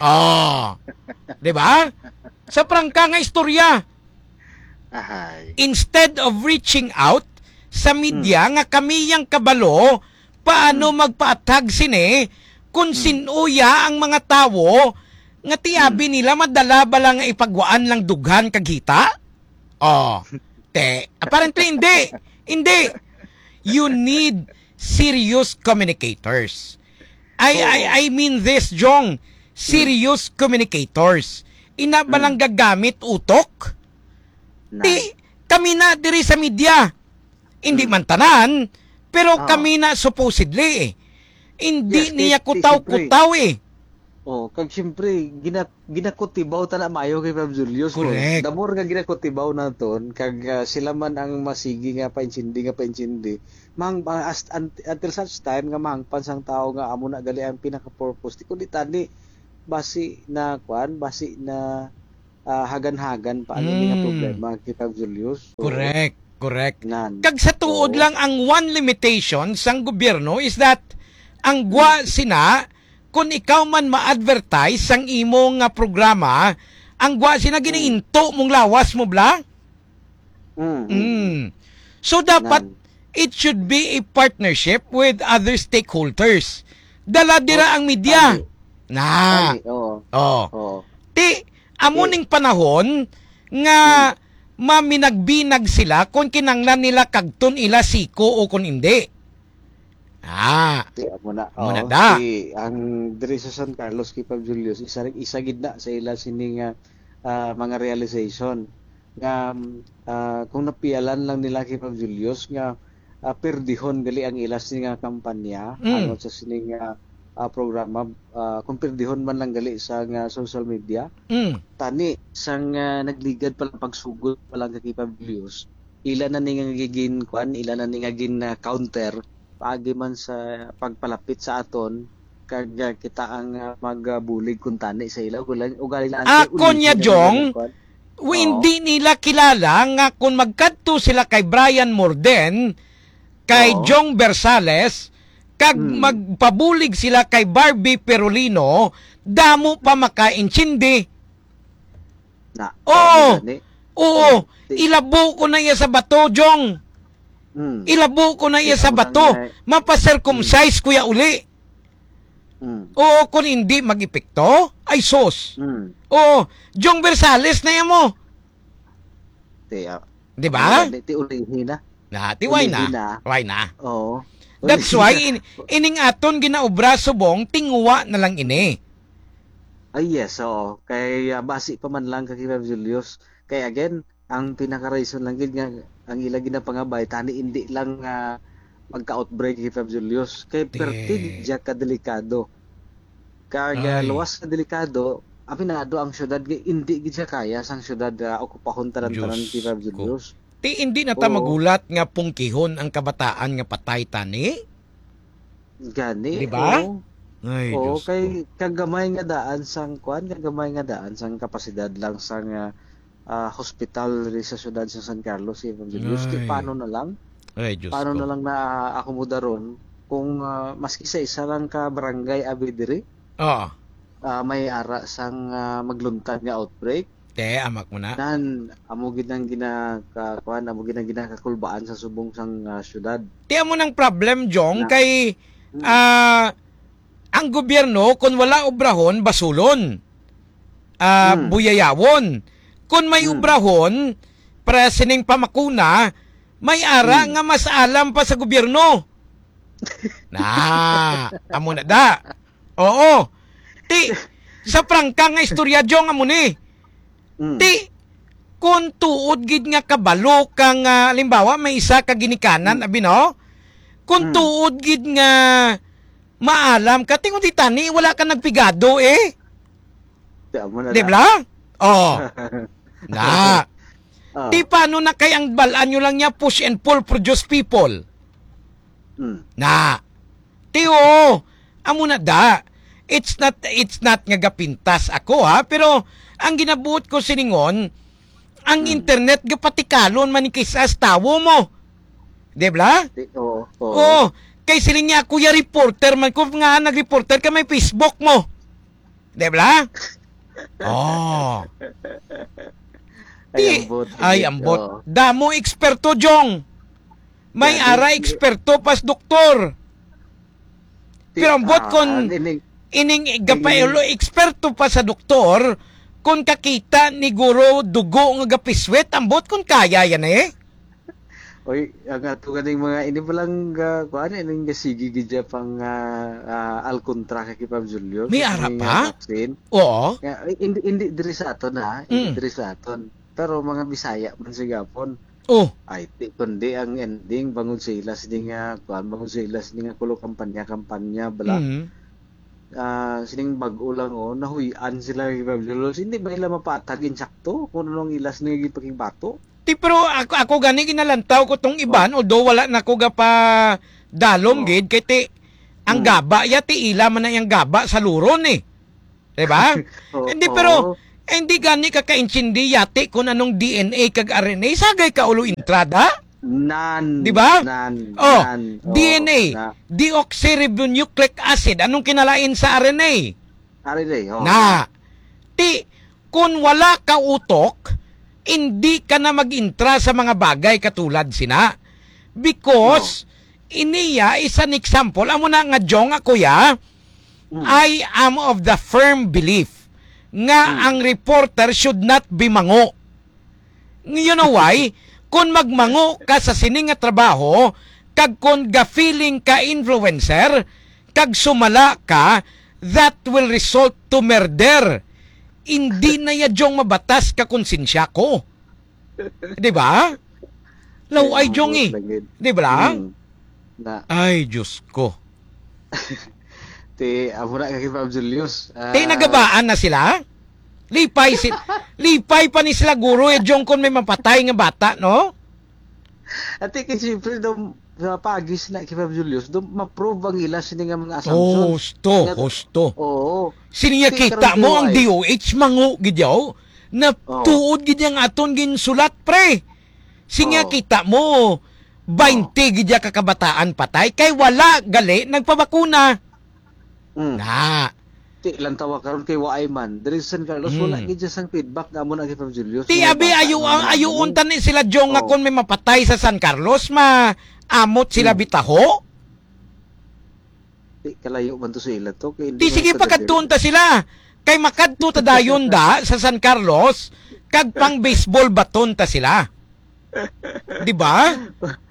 Oh. Di ba? Sa prangka nga istorya. Ahay. Instead of reaching out sa media Hmm. nga kami yang kabalo, paano Hmm. magpaathag sini kung Hmm. sin-o ya ang mga tawo nga ti abi Hmm. nila madala ba lang nga ipagwaan lang dughan kag hita? Oh. Te, apparently hindi. Hindi. You need serious communicators. I, Oo. I, I mean this, Jong. Serious communicators. Ina ba Mm. lang gagamit utok? Na. Ti, kami na diri sa media. Hindi Mm. man tanan, pero Oo. kami na supposedly eh. Hindi Yes, niya ti, ti, kutaw-kutaw eh. Oh, kag siyempre, gina-, ginakutibaw ta na maayo kay Fab Julius, no? Correct. The more nga ginakutibaw naton, kag, ah, sila man ang masigi nga paintsindi, nga paintsindi, mang-, ah, as-, un-, until such time nga mahangpan sang tao nga amo na gali ang pinaka-purpose. Di kundi tani, basi na, kwan, basi na, ah, hagan-hagan pa ang ini nga Mm. problema kay Fab Julius. So, Correct, correct. Nan. Kag sa tuod Oo. lang, ang one limitation sang gobyerno is that ang gwa sina, kung ikaw man ma-advertise sang imo nga programa, ang gwa sina Mm. ginainto mong lawas mo, bla? Mm, mm. Mm. So, dapat Nan. it should be a partnership with other stakeholders. Dala dira Oh, ang media. tani. Na. Tani, oo. Oh. Oo. Ti, amo Ti. ning panahon nga Hmm. maminag-binag sila kung kinanglan nila kagton ila siko o kung indi. Ah. Ti, amo na. Amo na Oo, da. Ti, ang diri sa San Carlos, kay Fab Julius, isa, isa gid na sa ila sini nga, ah, mga realization nga, ah, kung napialan lang nila kay Fab Julius nga, ah, perdihon gali ang ila sini nga kampanya, Mm. ano, sa sini nga, ah, programa, ah, kung perdihon man lang gali sa nga social media. Mm. Tani, sang, ah, nagligad pa lang, pagsugod pa lang kay Fab Julius, ila na ni nga gigin-, kwan, ila na ni nga gin, ah, counter paagi man sa pagpalapit sa aton, kag, ah, kita ang, ah, magbulig kuntani sa ila. Ugali, ugali lang, Ako ulihi niya, na nila Jong, ang kwan. wi-, Oo. hindi nila kilala nga kung magkadto sila kay Brian Morden, kay Oo. Jong Versales, kag Hmm. magpabulig sila kay Barbie Perolino, damo pa makaintindi. Na, Oo. ano gani? Oo. Ti- Ilabo ko na iya sa bato, Jong. Hmm. Ilabo ko na iya Ti sa amo bato. lang nga Mapa-circumcise ko ya uli. Hmm. Oo, kung hindi mag-epekto, ay sus. Hmm. Oo, Jong Versales na iya mo. Ti, ah, Di ba? ano gani? Ti ulihi na. Na, ti why na? Ulihi na. Why na? Oo. That's Ulihi why na. in-, ining aton ginaobra subong, tinguwa na lang ini. Ay, yes, oo. Kay, ah, basi pa man lang kay Rev Julius. Kay again, ang pinaka-reason lang gid nga ang ila ginapangabay, tani indi lang, ah, magka-outbreak kay Rev Julius. Kay perti Yes. gid siya kadelikado. Kag, ah, Ay. luwas ka delikado, aminado ang syudad nga indi gid siya kaya sang syudad, ah, okupahon tanan-tanan Diyos kay Rev ko. Julius. Ti, indi na ta Oo. magulat nga pungkihon ang kabataan nga patay tani? Gani, Di ba? oo. Ay, Oo, Diyos kay ko. kagamay nga daan sang, kuwan, kagamay nga daan sang kapasidad lang sang, ah, ah, hospital diri sa siyudad sa San Carlos, Evangelist. Ti, Ay. paano na lang? Ay, Diyos Paano ko. na lang na akomodaron kung, ah, maski sa isa lang ka barangay abi diri, Oo. ah, may ara sang, ah, magluntad nga outbreak? Te, amak mo na. Nan, amo gid ang gina-, ka-, kuwan, amo gid ang ginakakulbaan sa subong sang, ah, syudad. Ti amo nang problem, Jong, Na. kay, Hmm. ah, ang gobyerno, kung wala obrahon, basulon. Ah, Hmm. buyayawon. Kung may Hmm. obrahon, para sining pamakuna, may ara Hmm. nga mas alam pa sa gobyerno. Na, amo na da. Oo. Ti, sa prangka nga istorya, Jong, amo ni. Mm. Ti, kung tuod gid nga kabalo ka nga, halimbawa, may isa ka ginikanan, Mm. abi, no? Kung Mm. tuod gid nga maalam ka, ti, kung di tani, wala ka nagpigado, eh. Ti, amo na Di na. ba? Oh. Na. Ah. Ti, paano na kay ang balaan nyo lang niya, push and pull, produce people? Mm. Na. Ti, oo. Amo na da. It's not, it's not nga gapintas ako, ha, pero ang ginabuot ko siningon, ang Mm. internet gapatikalon man ni kis-a sa tawo mo. Di ba? Ti-, oo, oo. Oo. Kay siling niya, "Kuya, reporter man ko." Nga, nag-reporter ka, may Facebook mo. Di ba? Oh. Ay, Ti-, ambot, ay, ambot. Oo. Damo eksperto, Jong. May Grabe. ara eksperto pas doktor. Ti-, Pero ambot ah, kon ah, ining, ining ining gapailo eksperto pa sa doktor, kon kakita ni guro dugo nga gapiswit, ambot kon kaya yan eh. Oy, ang ato ganing mga ini pa lang, ah, kuan, ining gasigi gid siya pang, ah, ah, alkontra kay Pab Julio. May Sa ara ining, pa? ah, vaccine. Oo. Nga, eh, hindi, hindi diri sa aton, ha? Hindi Mm. diri sa aton. Pero mga Bisaya man sigapon. Oh. Ay, ti, kundi ang ending, bangod sa ila sini nga, kuan, bangod sa ila sini nga kulo kampanya-kampanya, bala. Mm. ah, sining bag-o lang, oh, nahuy-an sila ni Ma'am Julius. Hindi ba nila mapatag insakto kung anong ilas nga gipakigbato? Ti, pero ako, ako gani ginalantaw ko tong iban, Oh. although wala na ko gapa dalom Oh. gid, kay ti, ang Hmm. gaba ya, ti ila man na yang gaba sa luron eh. Di ba? Oo, Hindi, oo. pero, eh, hindi gani ka kaintindi yati kung anong D N A kag R N A. Sagay ka ulo entrada. Nan, Di ba? nan, Oh, nan. Oo, D N A, na. deoxyribonucleic acid. Anong kinalain sa R N A? R N A, oh. Na. Ti, kung wala ka utok, hindi ka na mag-intra sa mga bagay katulad sina. Because, Oh. iniya is an example. Amo na nga, Jong, ako ya, Mm. I am of the firm belief nga Mm. ang reporter should not be mango. You know why? Kung magmango ka sa sini nga trabaho, kag kung ga-feeling ka influencer, kag sumala ka, that will result to murder. Hindi na ya, Jong, mabatas ka konsensya ko. Di ba? Law ay, Jong, eh. Lagid. Di ba? Mm. Na. Ay, Diyos ko. Ti, amo na kay Ma'am Julius. Ah, Ti, nagabaan na sila? Lipay si, lipay pa ni sila, guro, eh, Jong, kung may mapatay nga bata, no? Ati, kay siyempre, daw, sa pagis na kay Ma'am Julius, daw, ma-prove ang ila sini nga mga assumptions. Husto, Nga, husto. Oo. Sini nga Ti, kita karon mo ang D O H. D O H, mango gid yaw, na Oo. tuod gid yang aton ginsulat, pre. Sini nga Oo. kita mo, baynte Oo. gid ya ka kabataan patay, kay wala gali nagpabakuna. Mm. Na. Ti, lantawa karon kay waay man. Diri sa San Carlos, wala Mm. gid siya sang feedback nga amo na kay Pam Julius. Ti, May abi, bata ayo, nga ang, mga ayuon ano. Tani sila, Jong, nga Oh. Kung may mapatay sa San Carlos, maamot sila Mm. bitaho? Ti, kalayo man to sa ila to. Kay hindi Ti, man sige, taga pakadtuon diri. Ta sila. Kay makadto ta dayon da sa San Carlos, kag pang baseball baton ta sila. Di ba?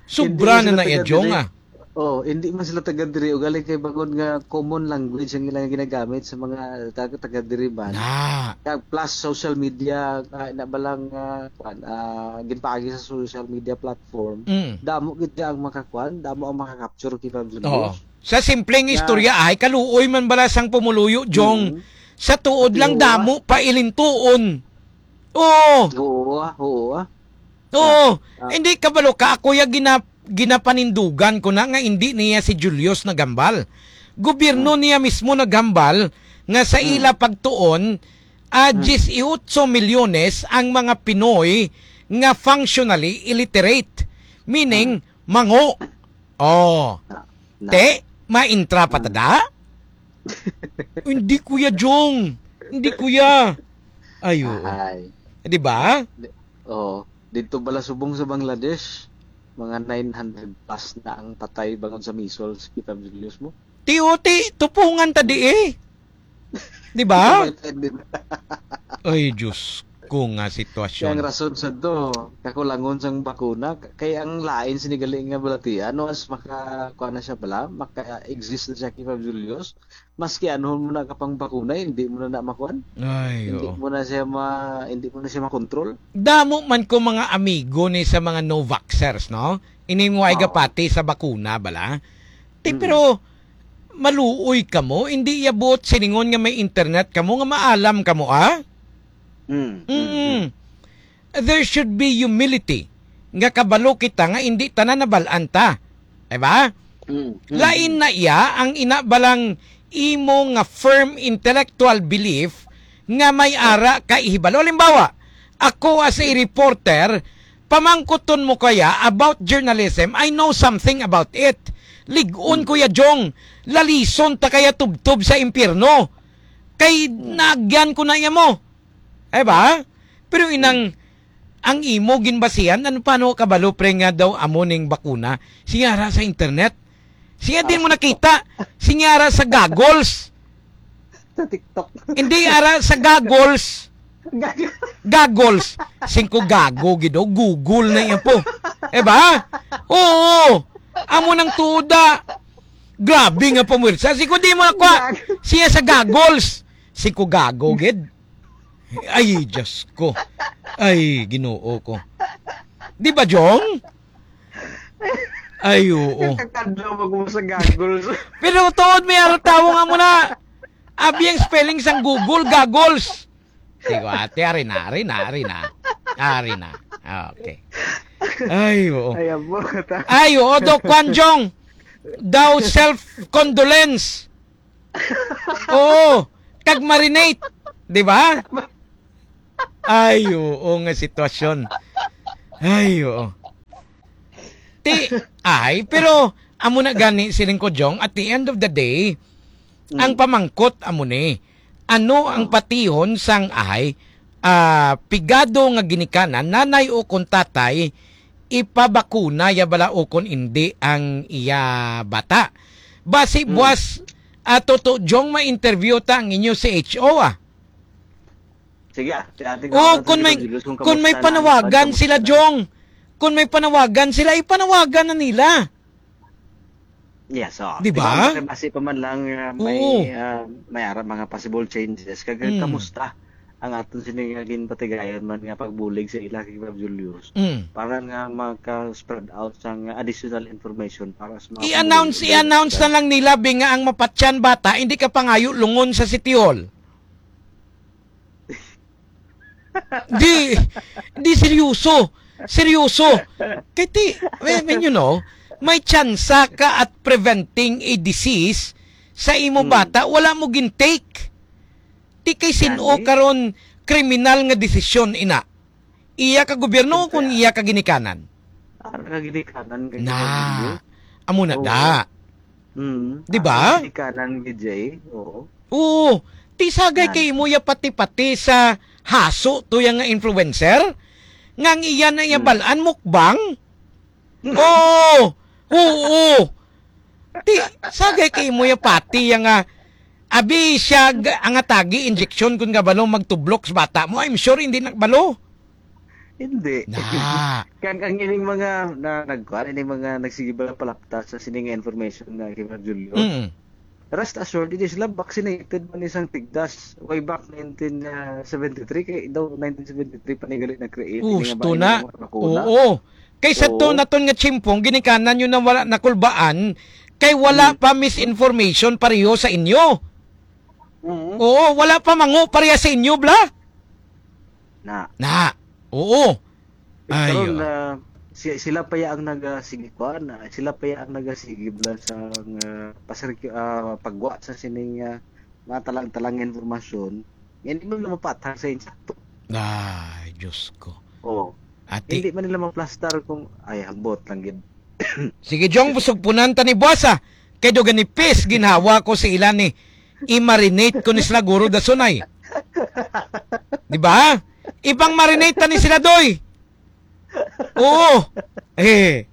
Sobra Hindi na sila na iya, taga Jong, diri. Ah. Oh, hindi man sila taga diri. Ugaling kay bangod nga common language ang ilang ginagamit sa mga taga, taga diri man. Na. Kag plus social media, ah, na balang, ah, kwan, ah, ginpaagi sa social media platform. Mm. Damo gid ang makakuan, damo ang makakapture kay Pam Julius. Oo. Sa simpleng Na istorya, ay kaluoy man bala sang pumuluyo, Jong. Mm. Sa tuod lang, Oo, ah. Damo pa ilintuon. Oo. Oo, ah, oo, ah. Oo. Ah, ah. Hindi, kabalo ka, ako ya gina-, ginapanindugan ko na nga hindi niya si Julius naghambal. Gobyerno Hmm. niya mismo naghambal nga sa Hmm. ila pagtuon, ah, Hmm. diyes y otso milyones ang mga Pinoy nga functionally illiterate, meaning Hmm. mango. Oh. Na, na. Te, maintra pa ta da? Hindi, Kuya Jong. Hindi, Kuya. Ay, oo. Ay. Di ba? Di, oh, dito pala subong sa Bangladesh, mga nine hundred plus na ang patay bangod sa measles, kita ang videos mo. Ti, o, ti, tupungan ta di eh. Di ba? Ito may trending. Ay, Diyos ko nga sitwasyon. Kaya ang rason sa to, kakulangon sang bakuna, k-, kay ang lain sinigali nga balatian, no, as maka, kuha na siya bala, maka-exist na siya kay Fab Julius, maski ano mo na kapang bakuna, hindi mo na na makuan. Ay, Hindi oo. mo na siya ma-, hindi mo na siya makontrol. Damo man ko mga amigo ni sa mga no-vaxxers, no? Ini mo ay Oo. gapati sa bakuna, bala? Ti, Mm. pero maluoy kamo, hindi iya buot silingon nga may internet kamo nga maalam kamo, ah? Mm, mm, Mm. mm. There should be humility nga kabalo kita nga hindi tanan nabal-an ta. Diba? Mm, mm, Lain mm. na iya ang ina balang imo nga firm intellectual belief nga may ara ka ihibalo. Halimbawa, ako as a reporter, pamangkuton mo kaya about journalism, I know something about it. Lig-on, Hmm. Kuya Jong, lalison ta kaya tubtob sa impyerno. Kay Hmm. naagyan ko na iya mo. Ay ba? Pero inang, Hmm. ang imo ginbasihan, ano, paano kabalo, pre, nga daw amo ning bakuna? Siya ra sa internet. Siya din mo Ah. nakita. Siya ra sa goggles. Sa TikTok. Hindi, ara sa goggles. Gag- Goggles. Singko gago, gid, oh. Google na yan po. Eh ba? Oo. Amo nang tuda. Grabe nga pamwersa. Singko di mo nakuha. Gag- Siya sa goggles. Singko gago, gid. Ay, Diyos ko. Ay, Ginoo ko. Di ba, Jong? Ay, oo. Kakadlaw mag-, mo sa goggles. Pero tuod, may araw tawo nga mo na. Abi ang spelling sang Google, goggles. Sige, ate, ari na, ari na, ari na. Ari na. Okay. Ay, oo. Ay, abot, ah. Ay, oo, Doc Kwan Jong. Daw self-condolence. Oo. Kag marinate. Di ba? Ay, oo nga sitwasyon. Ay, oo. Ti, ay, pero amo na gani, siling ko, Jong, at the end of the day, Mm. ang pamangkot amo ni, ano ang Ah. patihon sang ay, ah, pigado nga ginikanan, nanay o kon tatay, ipabakuna ya bala o kon indi ang iya bata? Basi Mm. buwas, ah, Toto Jong, ma-interview ta ang inyo C H O, ah. Sige, ah, si Ate Oh, Gawa, kung sige, may, Julius, kung kung may kamusta na ang panawagan pagkamusta sila, na? Jong, kung may panawagan sila, ipanawagan na nila. Yes, oh. Di Di ba? ba? Kasi basi pa man lang, ah, may, Oo. ah, may ara mga possible changes. Kag Mm. kamusta ang aton sini nga ginpatigayon man nga pagbulig sa ila kay Ma'am Julius? Mm. Para nga maka-spread out sang additional information para sa mga I-announce, pamilya. I-announce na lang nila, Bing, nga ang mapatyan bata, hindi ka pangayo lungon sa City Hall. Di, di seryoso. Seryoso. Kay ti, I mean, you know, may tsansa ka at preventing a disease sa imo Hmm. bata, wala mo gintake. Ti kay sin-o Gani? karon kriminal nga desisyon ina? Iya ka gobyerno Siyempre, kun ah. iya ka ginikanan? Ah, ka ginikanan kay Na. Ginikanan. Amo na Oo. da. Mm. Di ba? Ang ginikanan, G J. Oo. Oo. Ti sagay Yan. kay imo ya pati-pati sa haso to ya nga influencer? Nga ang iya na iya Hmm. balaan, mukbang? Oo. Oo. Ti sagay kay imo ya pati ya nga abi siya g-, ang atagi injection kun gabalo magtublok sa bata mo. I'm sure hindi nagbalo. Hindi. Na. Kag ang ining mga na, nagkuan, ining mga nagsige bala palapta sa sini nga information na kay Ma'am Julio. Mm. Rest assured, hindi sila vaccinated man isang tigdas. Way back nineteen seventy-three, kay daw nineteen seventy-three pa ni gali na-create ini nga Gusto ba, na. ini nga mga bakuna. Oo. Kaysa to Oo. naton nga chimpong, ginikanan nyo na wala nakulbaan, kay wala Hmm. pa misinformation pareho sa inyo. Oo. Oo, wala pa mango pareha sa inyo, bla? Na. Na. Oo. Ay, Karon, oo. ah, si-, sila pa ya ang naga-, sige, kuan, ah, sila pa ya ang nagasigib lang sa, ah, pasirki-, ah, pagwa sa sining, ah, mga talang-talang nga impormasyon. Yan, di man na mapatag sa insakto. Ay, Diyos ko. Oo. Ate. Hindi man nila maplastar kung, ay, ambot lang gid. Sige, Jong, busog punan ta ni buwas, ah. Kay do ganipis, ginhawa ko sa ila ni i-marinate ko ni sila guro dason ay. Di ba? Ipang-marinate ta ni sila, doy. Oo. Eh.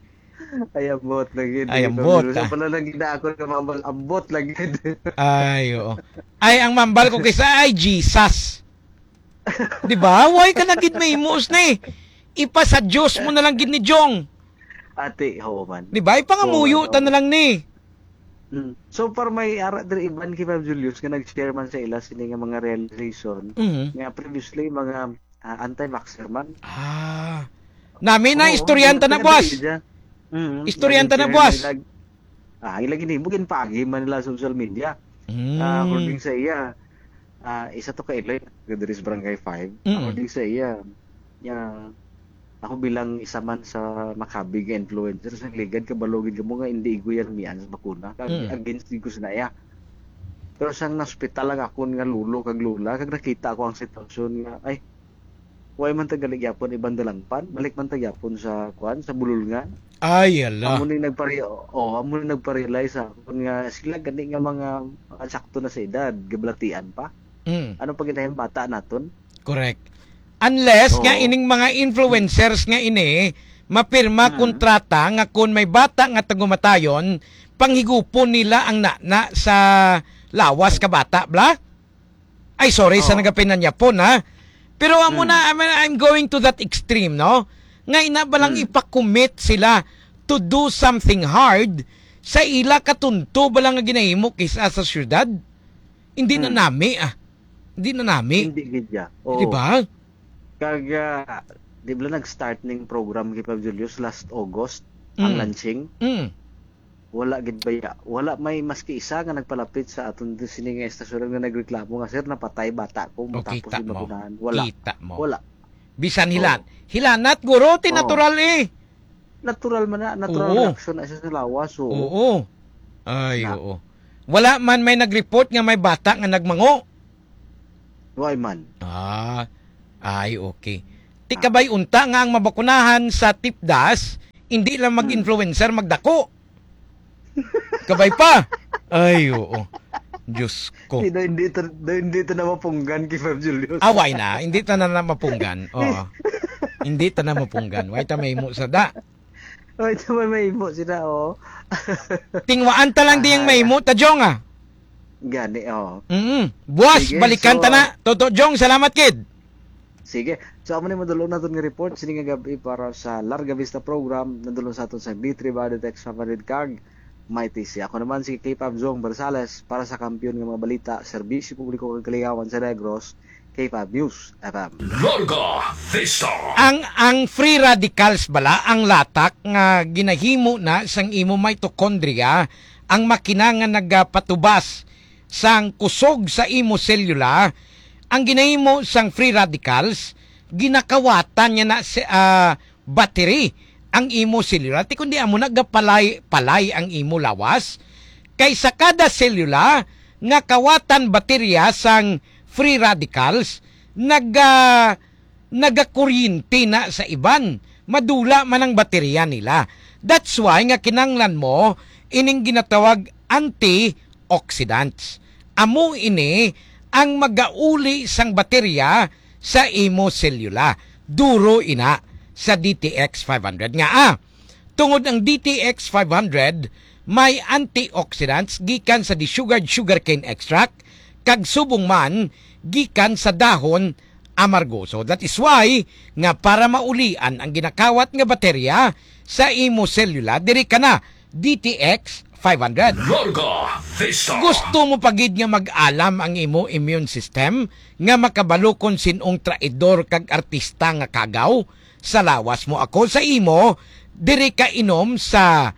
Ay, ambot lang gid. Ay, ambot, Sa ah. pala lang gid na ako nga mambal, ambot lang gid. Ay, oo. Ay, ang mambal ko kaysa, ay, Jesus. Di ba? Why ka na gid may imuos na eh? Ipa sa Diyos mo na lang gid ni Jong. Ate, oo man. Di ba? Ipangamuyo Oo, ta oo. na lang ni. Mm. So far, may ara diri iban kay Ma'am Julius nga nag-share man sa ila sini nga mga realization Mhm. nga previously mga, ah, anti-vaxxer man. Ah. Nami na Oo, istoryahan ta na, nag-, boss. nag-, Mm, Istoryahan ta na, nag-share boss. na ilag-, ah, ila ginhimo, ginpaagi man nila sa social media. Mm. Ah, according sa iya, ah, isa to ka Iloy, diri sa Barangay five. Mm. According sa iya, nga ako bilang isa man sa makabig nga influencer, sa ligad, kabalo gid kamo nga hindi igo yan mian sa bakuna. Kag Mm. against gid ko sa naya. Pero sang naospital lang akon nga lolo kag lola, kag nakita ko ang sitwasyon nga, ay, way man ta gali gyapon iban dalangpan, balik man ta gyapon sa, kuan, sa bululngan. Ay, hala. Amo ni nagpare-, oh, amo ni nagpa-realize sa akon nga sila gani nga mga, ah, sakto na sa edad, gabalatian pa. Mm. Ano pa gid ang bata naton? Correct. Unless nga Oo. ining mga influencers nga ini, mapirma Mm. kontrata nga kun may bata nga tagumatayon, panghigupon nila ang nana sa lawas ka bata, bla? Ay, sorry sa Oo. nagapinanyapon, ha? Pero amo Mm. na, I mean, I'm going to that extreme, no? Nga ina ba lang Mm. ipakumit sila to do something hard sa ila katunto ba lang nga ginahimo kisa sa syudad? Hindi na Mm. nami, ah. Hindi na nami. Hindi gid ya. Di Oo. ba? Kag, ah, di ba nag-start ning program kay Pab Julius last August, ang Mm. launching? Mm. Wala gid baya. Wala may maski isa nga nagpalapit sa aton sini nga estasyon nga nagreklamo nga, "Sir, napatay bata ko, O, matapos kita yung mo. Bakunahan." Wala. Kita mo. Wala. Bisan hilan. Oo. Hilanat, guro, ti Oo. natural eh. Natural man na, natural Oo. reaction na siya sa lawas, oo. Oo. Ay, Na. oo. Wala man may nag-report nga may bata nga nagmango. Why man? Ah, ay, okay. Ti Ah. kabay unta nga ang mabakunahan sa tipdas, hindi lang Mm. mag-influencer, magdako. Kabay pa. Ay, oo. Diyos ko. Hindi, hindi to, hindi to na mapunggan kay Fab Julius. Away na, hindi ta na, na mapunggan. Oo. Hindi ta na mapunggan. Why ta may mo sa da? Ay, ito may, may imo sila, oh. Tingwaan ta lang diyang Aha. may mo, ta, Jong, ah. Gani, oh. Mm. Buwas, Sige, balikan so, ta na. ah, Toto, Jong, salamat, kid. Sige. So, amo ni madulong naton nga report sini nga gabi para sa Larga Vista program. Nadulong sa aton sa B three Body Text Favorite Kag Mighty C. Ako naman si K five Zong Barzales para sa kampiyon nga mga balita, serbisyo publiko kag kalingawan sa Negros, K five News F M. Larga Vista. Ang, ang free radicals bala, ang latak nga ginahimo na sang imo mitochondria, ang makina nga nagapatubas sang kusog sa imo selula, ang ginahimo sang free radicals, ginakawatan niya na si, ah, battery ang imo selula, ti kundi amo na gapalay, palay ang imo lawas. Kay sa kada selula nga kawatan baterya sang free radicals, naga-, nagakuryente na sa iban. Madula man ang baterya nila. That's why nga kinanglan mo ining ginatawag anti- oxidants. Amo ini ang magauli sang baterya sa imo selula. Duro ina sa D T X five hundred nga, ah, tungod ang D T X five hundred may antioxidants gikan sa desugared sugarcane extract kag subong man gikan sa dahon amargo. So that is why nga para maulian ang ginakawat nga baterya sa imo selula, diri ka na, D T X five hundred. Larga Vista. Gusto mo pa gid nga mag-alam ang imo immune system nga makabalo kon sin-ong traidor kag artista nga kagaw sa lawas mo? Ako sa imo, diri ka inom sa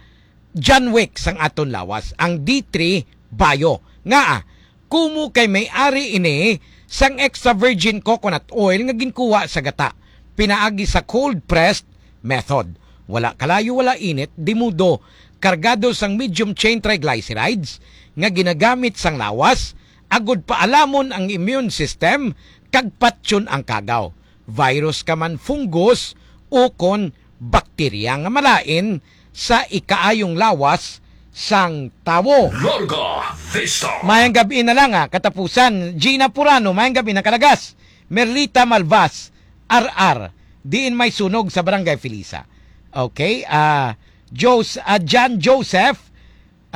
John Wick sang aton lawas, ang D three Bio. Ngaa? Kumo kay may ari ini sang extra virgin coconut oil nga ginkuha sa gata pinaagi sa cold pressed method. Wala kalayo, wala init, dimudo, kargado sang medium chain triglycerides nga ginagamit sang lawas agud paalamon ang immune system kag patyon ang kagaw, virus ka man, fungus, ukon bakterya nga malain sa ikaayong lawas sang tawo. Larga Vista. Mayang gabi na lang, ah, katapusan. Gina Purano, mayang gabi na kalagas. Merlita Malvas, R R, diin may sunog sa Barangay Felisa. Okay, ah, Jos-, ah, John Joseph,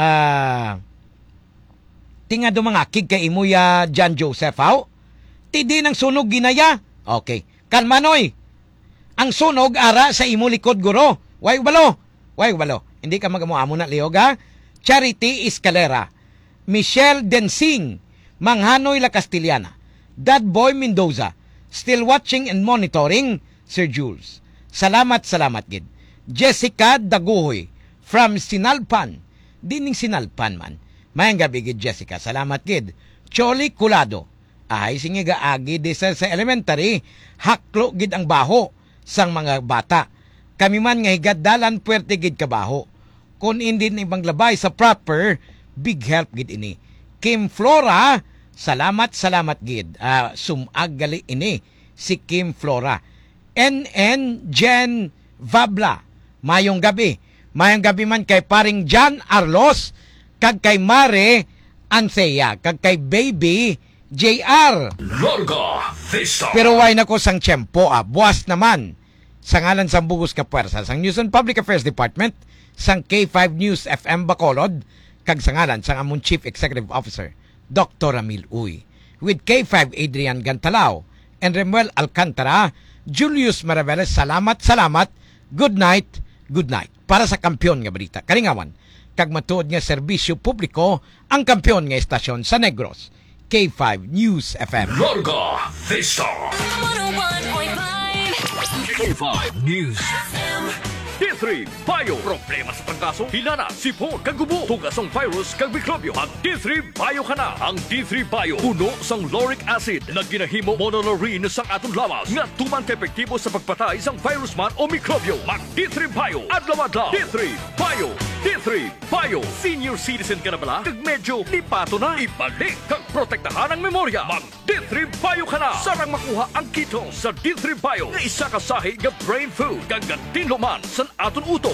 ah, tingado mangakig kay imo ya, John Joseph, haw? Ti di nang sunog ginaya. Okay. Kalma, noy. Ang sunog ara sa imo likod, guro. Way balo. Way balo. Hindi ka mag-amo-amo na, Leo, ha? Charity Escalera, Michelle Densing, Manghanoy La Castellana, Dad Boy Mendoza, still watching and monitoring, Sir Jules. Salamat, salamat gid. Jessica Daguhoy, from Sinalpan. Dining Sinalpan man. Mayang gabi gid, Jessica. Salamat gid. Choli Culado. Ay, sige, gaagi di sa, sa elementary, haklo gid ang baho sang mga bata. Kami man nga higad dalan, puwerte gid ka baho. Kon indi ni panglabay sa proper, big help gid ini. Kim Flora, salamat, salamat gid. Ah, sumag gali ini si Kim Flora. N N Jen Vabla, mayong gabi. Mayong gabi man kay paring Jan Arlos, kag kay Mare Anthea, kag kay Baby J R. Larga Vista. Pero way na ko sang tiyempo, ah. Buwas naman. Sa ngalan sang bugos ka puwersa sang News and Public Affairs Department sang K five News F M Bacolod, kag sa ngalan sang among Chief Executive Officer, Doktor Ramil Uy, with K five Adrian Gantalao and Remuel Alcantara, Julius Maraveles, salamat, salamat. Good night, good night. Para sa kampiyon nga balita, kalingawan, kag matuod nga serbisyo publiko, ang kampiyon nga estasyon sa Negros, K five News F M. Larga Vista. One oh one point five. K five News F M. three Bio. Problema sa trangkaso, hilanat, sipon, kag ubo, tuga sang virus kag mikrobyo. Mag D three Bio ka na. Ang D three Bio puno sang lauric acid nga ginahimo monolaurin sang aton lawas nga tuman ka epektibo sa pagpatay sang virus man o mikrobyo. Mag D three Bio adlaw-adlaw. D three Bio. D three Bio. Senior citizen ka na bala? Kag medyo lipato na? Ibalik kag protektahan ang memorya. Mag D three Bio ka na. Sarang makuha ang ketone sa D three Bio nga isa ka sahi nga brain food kag gatinlo man san aton utok.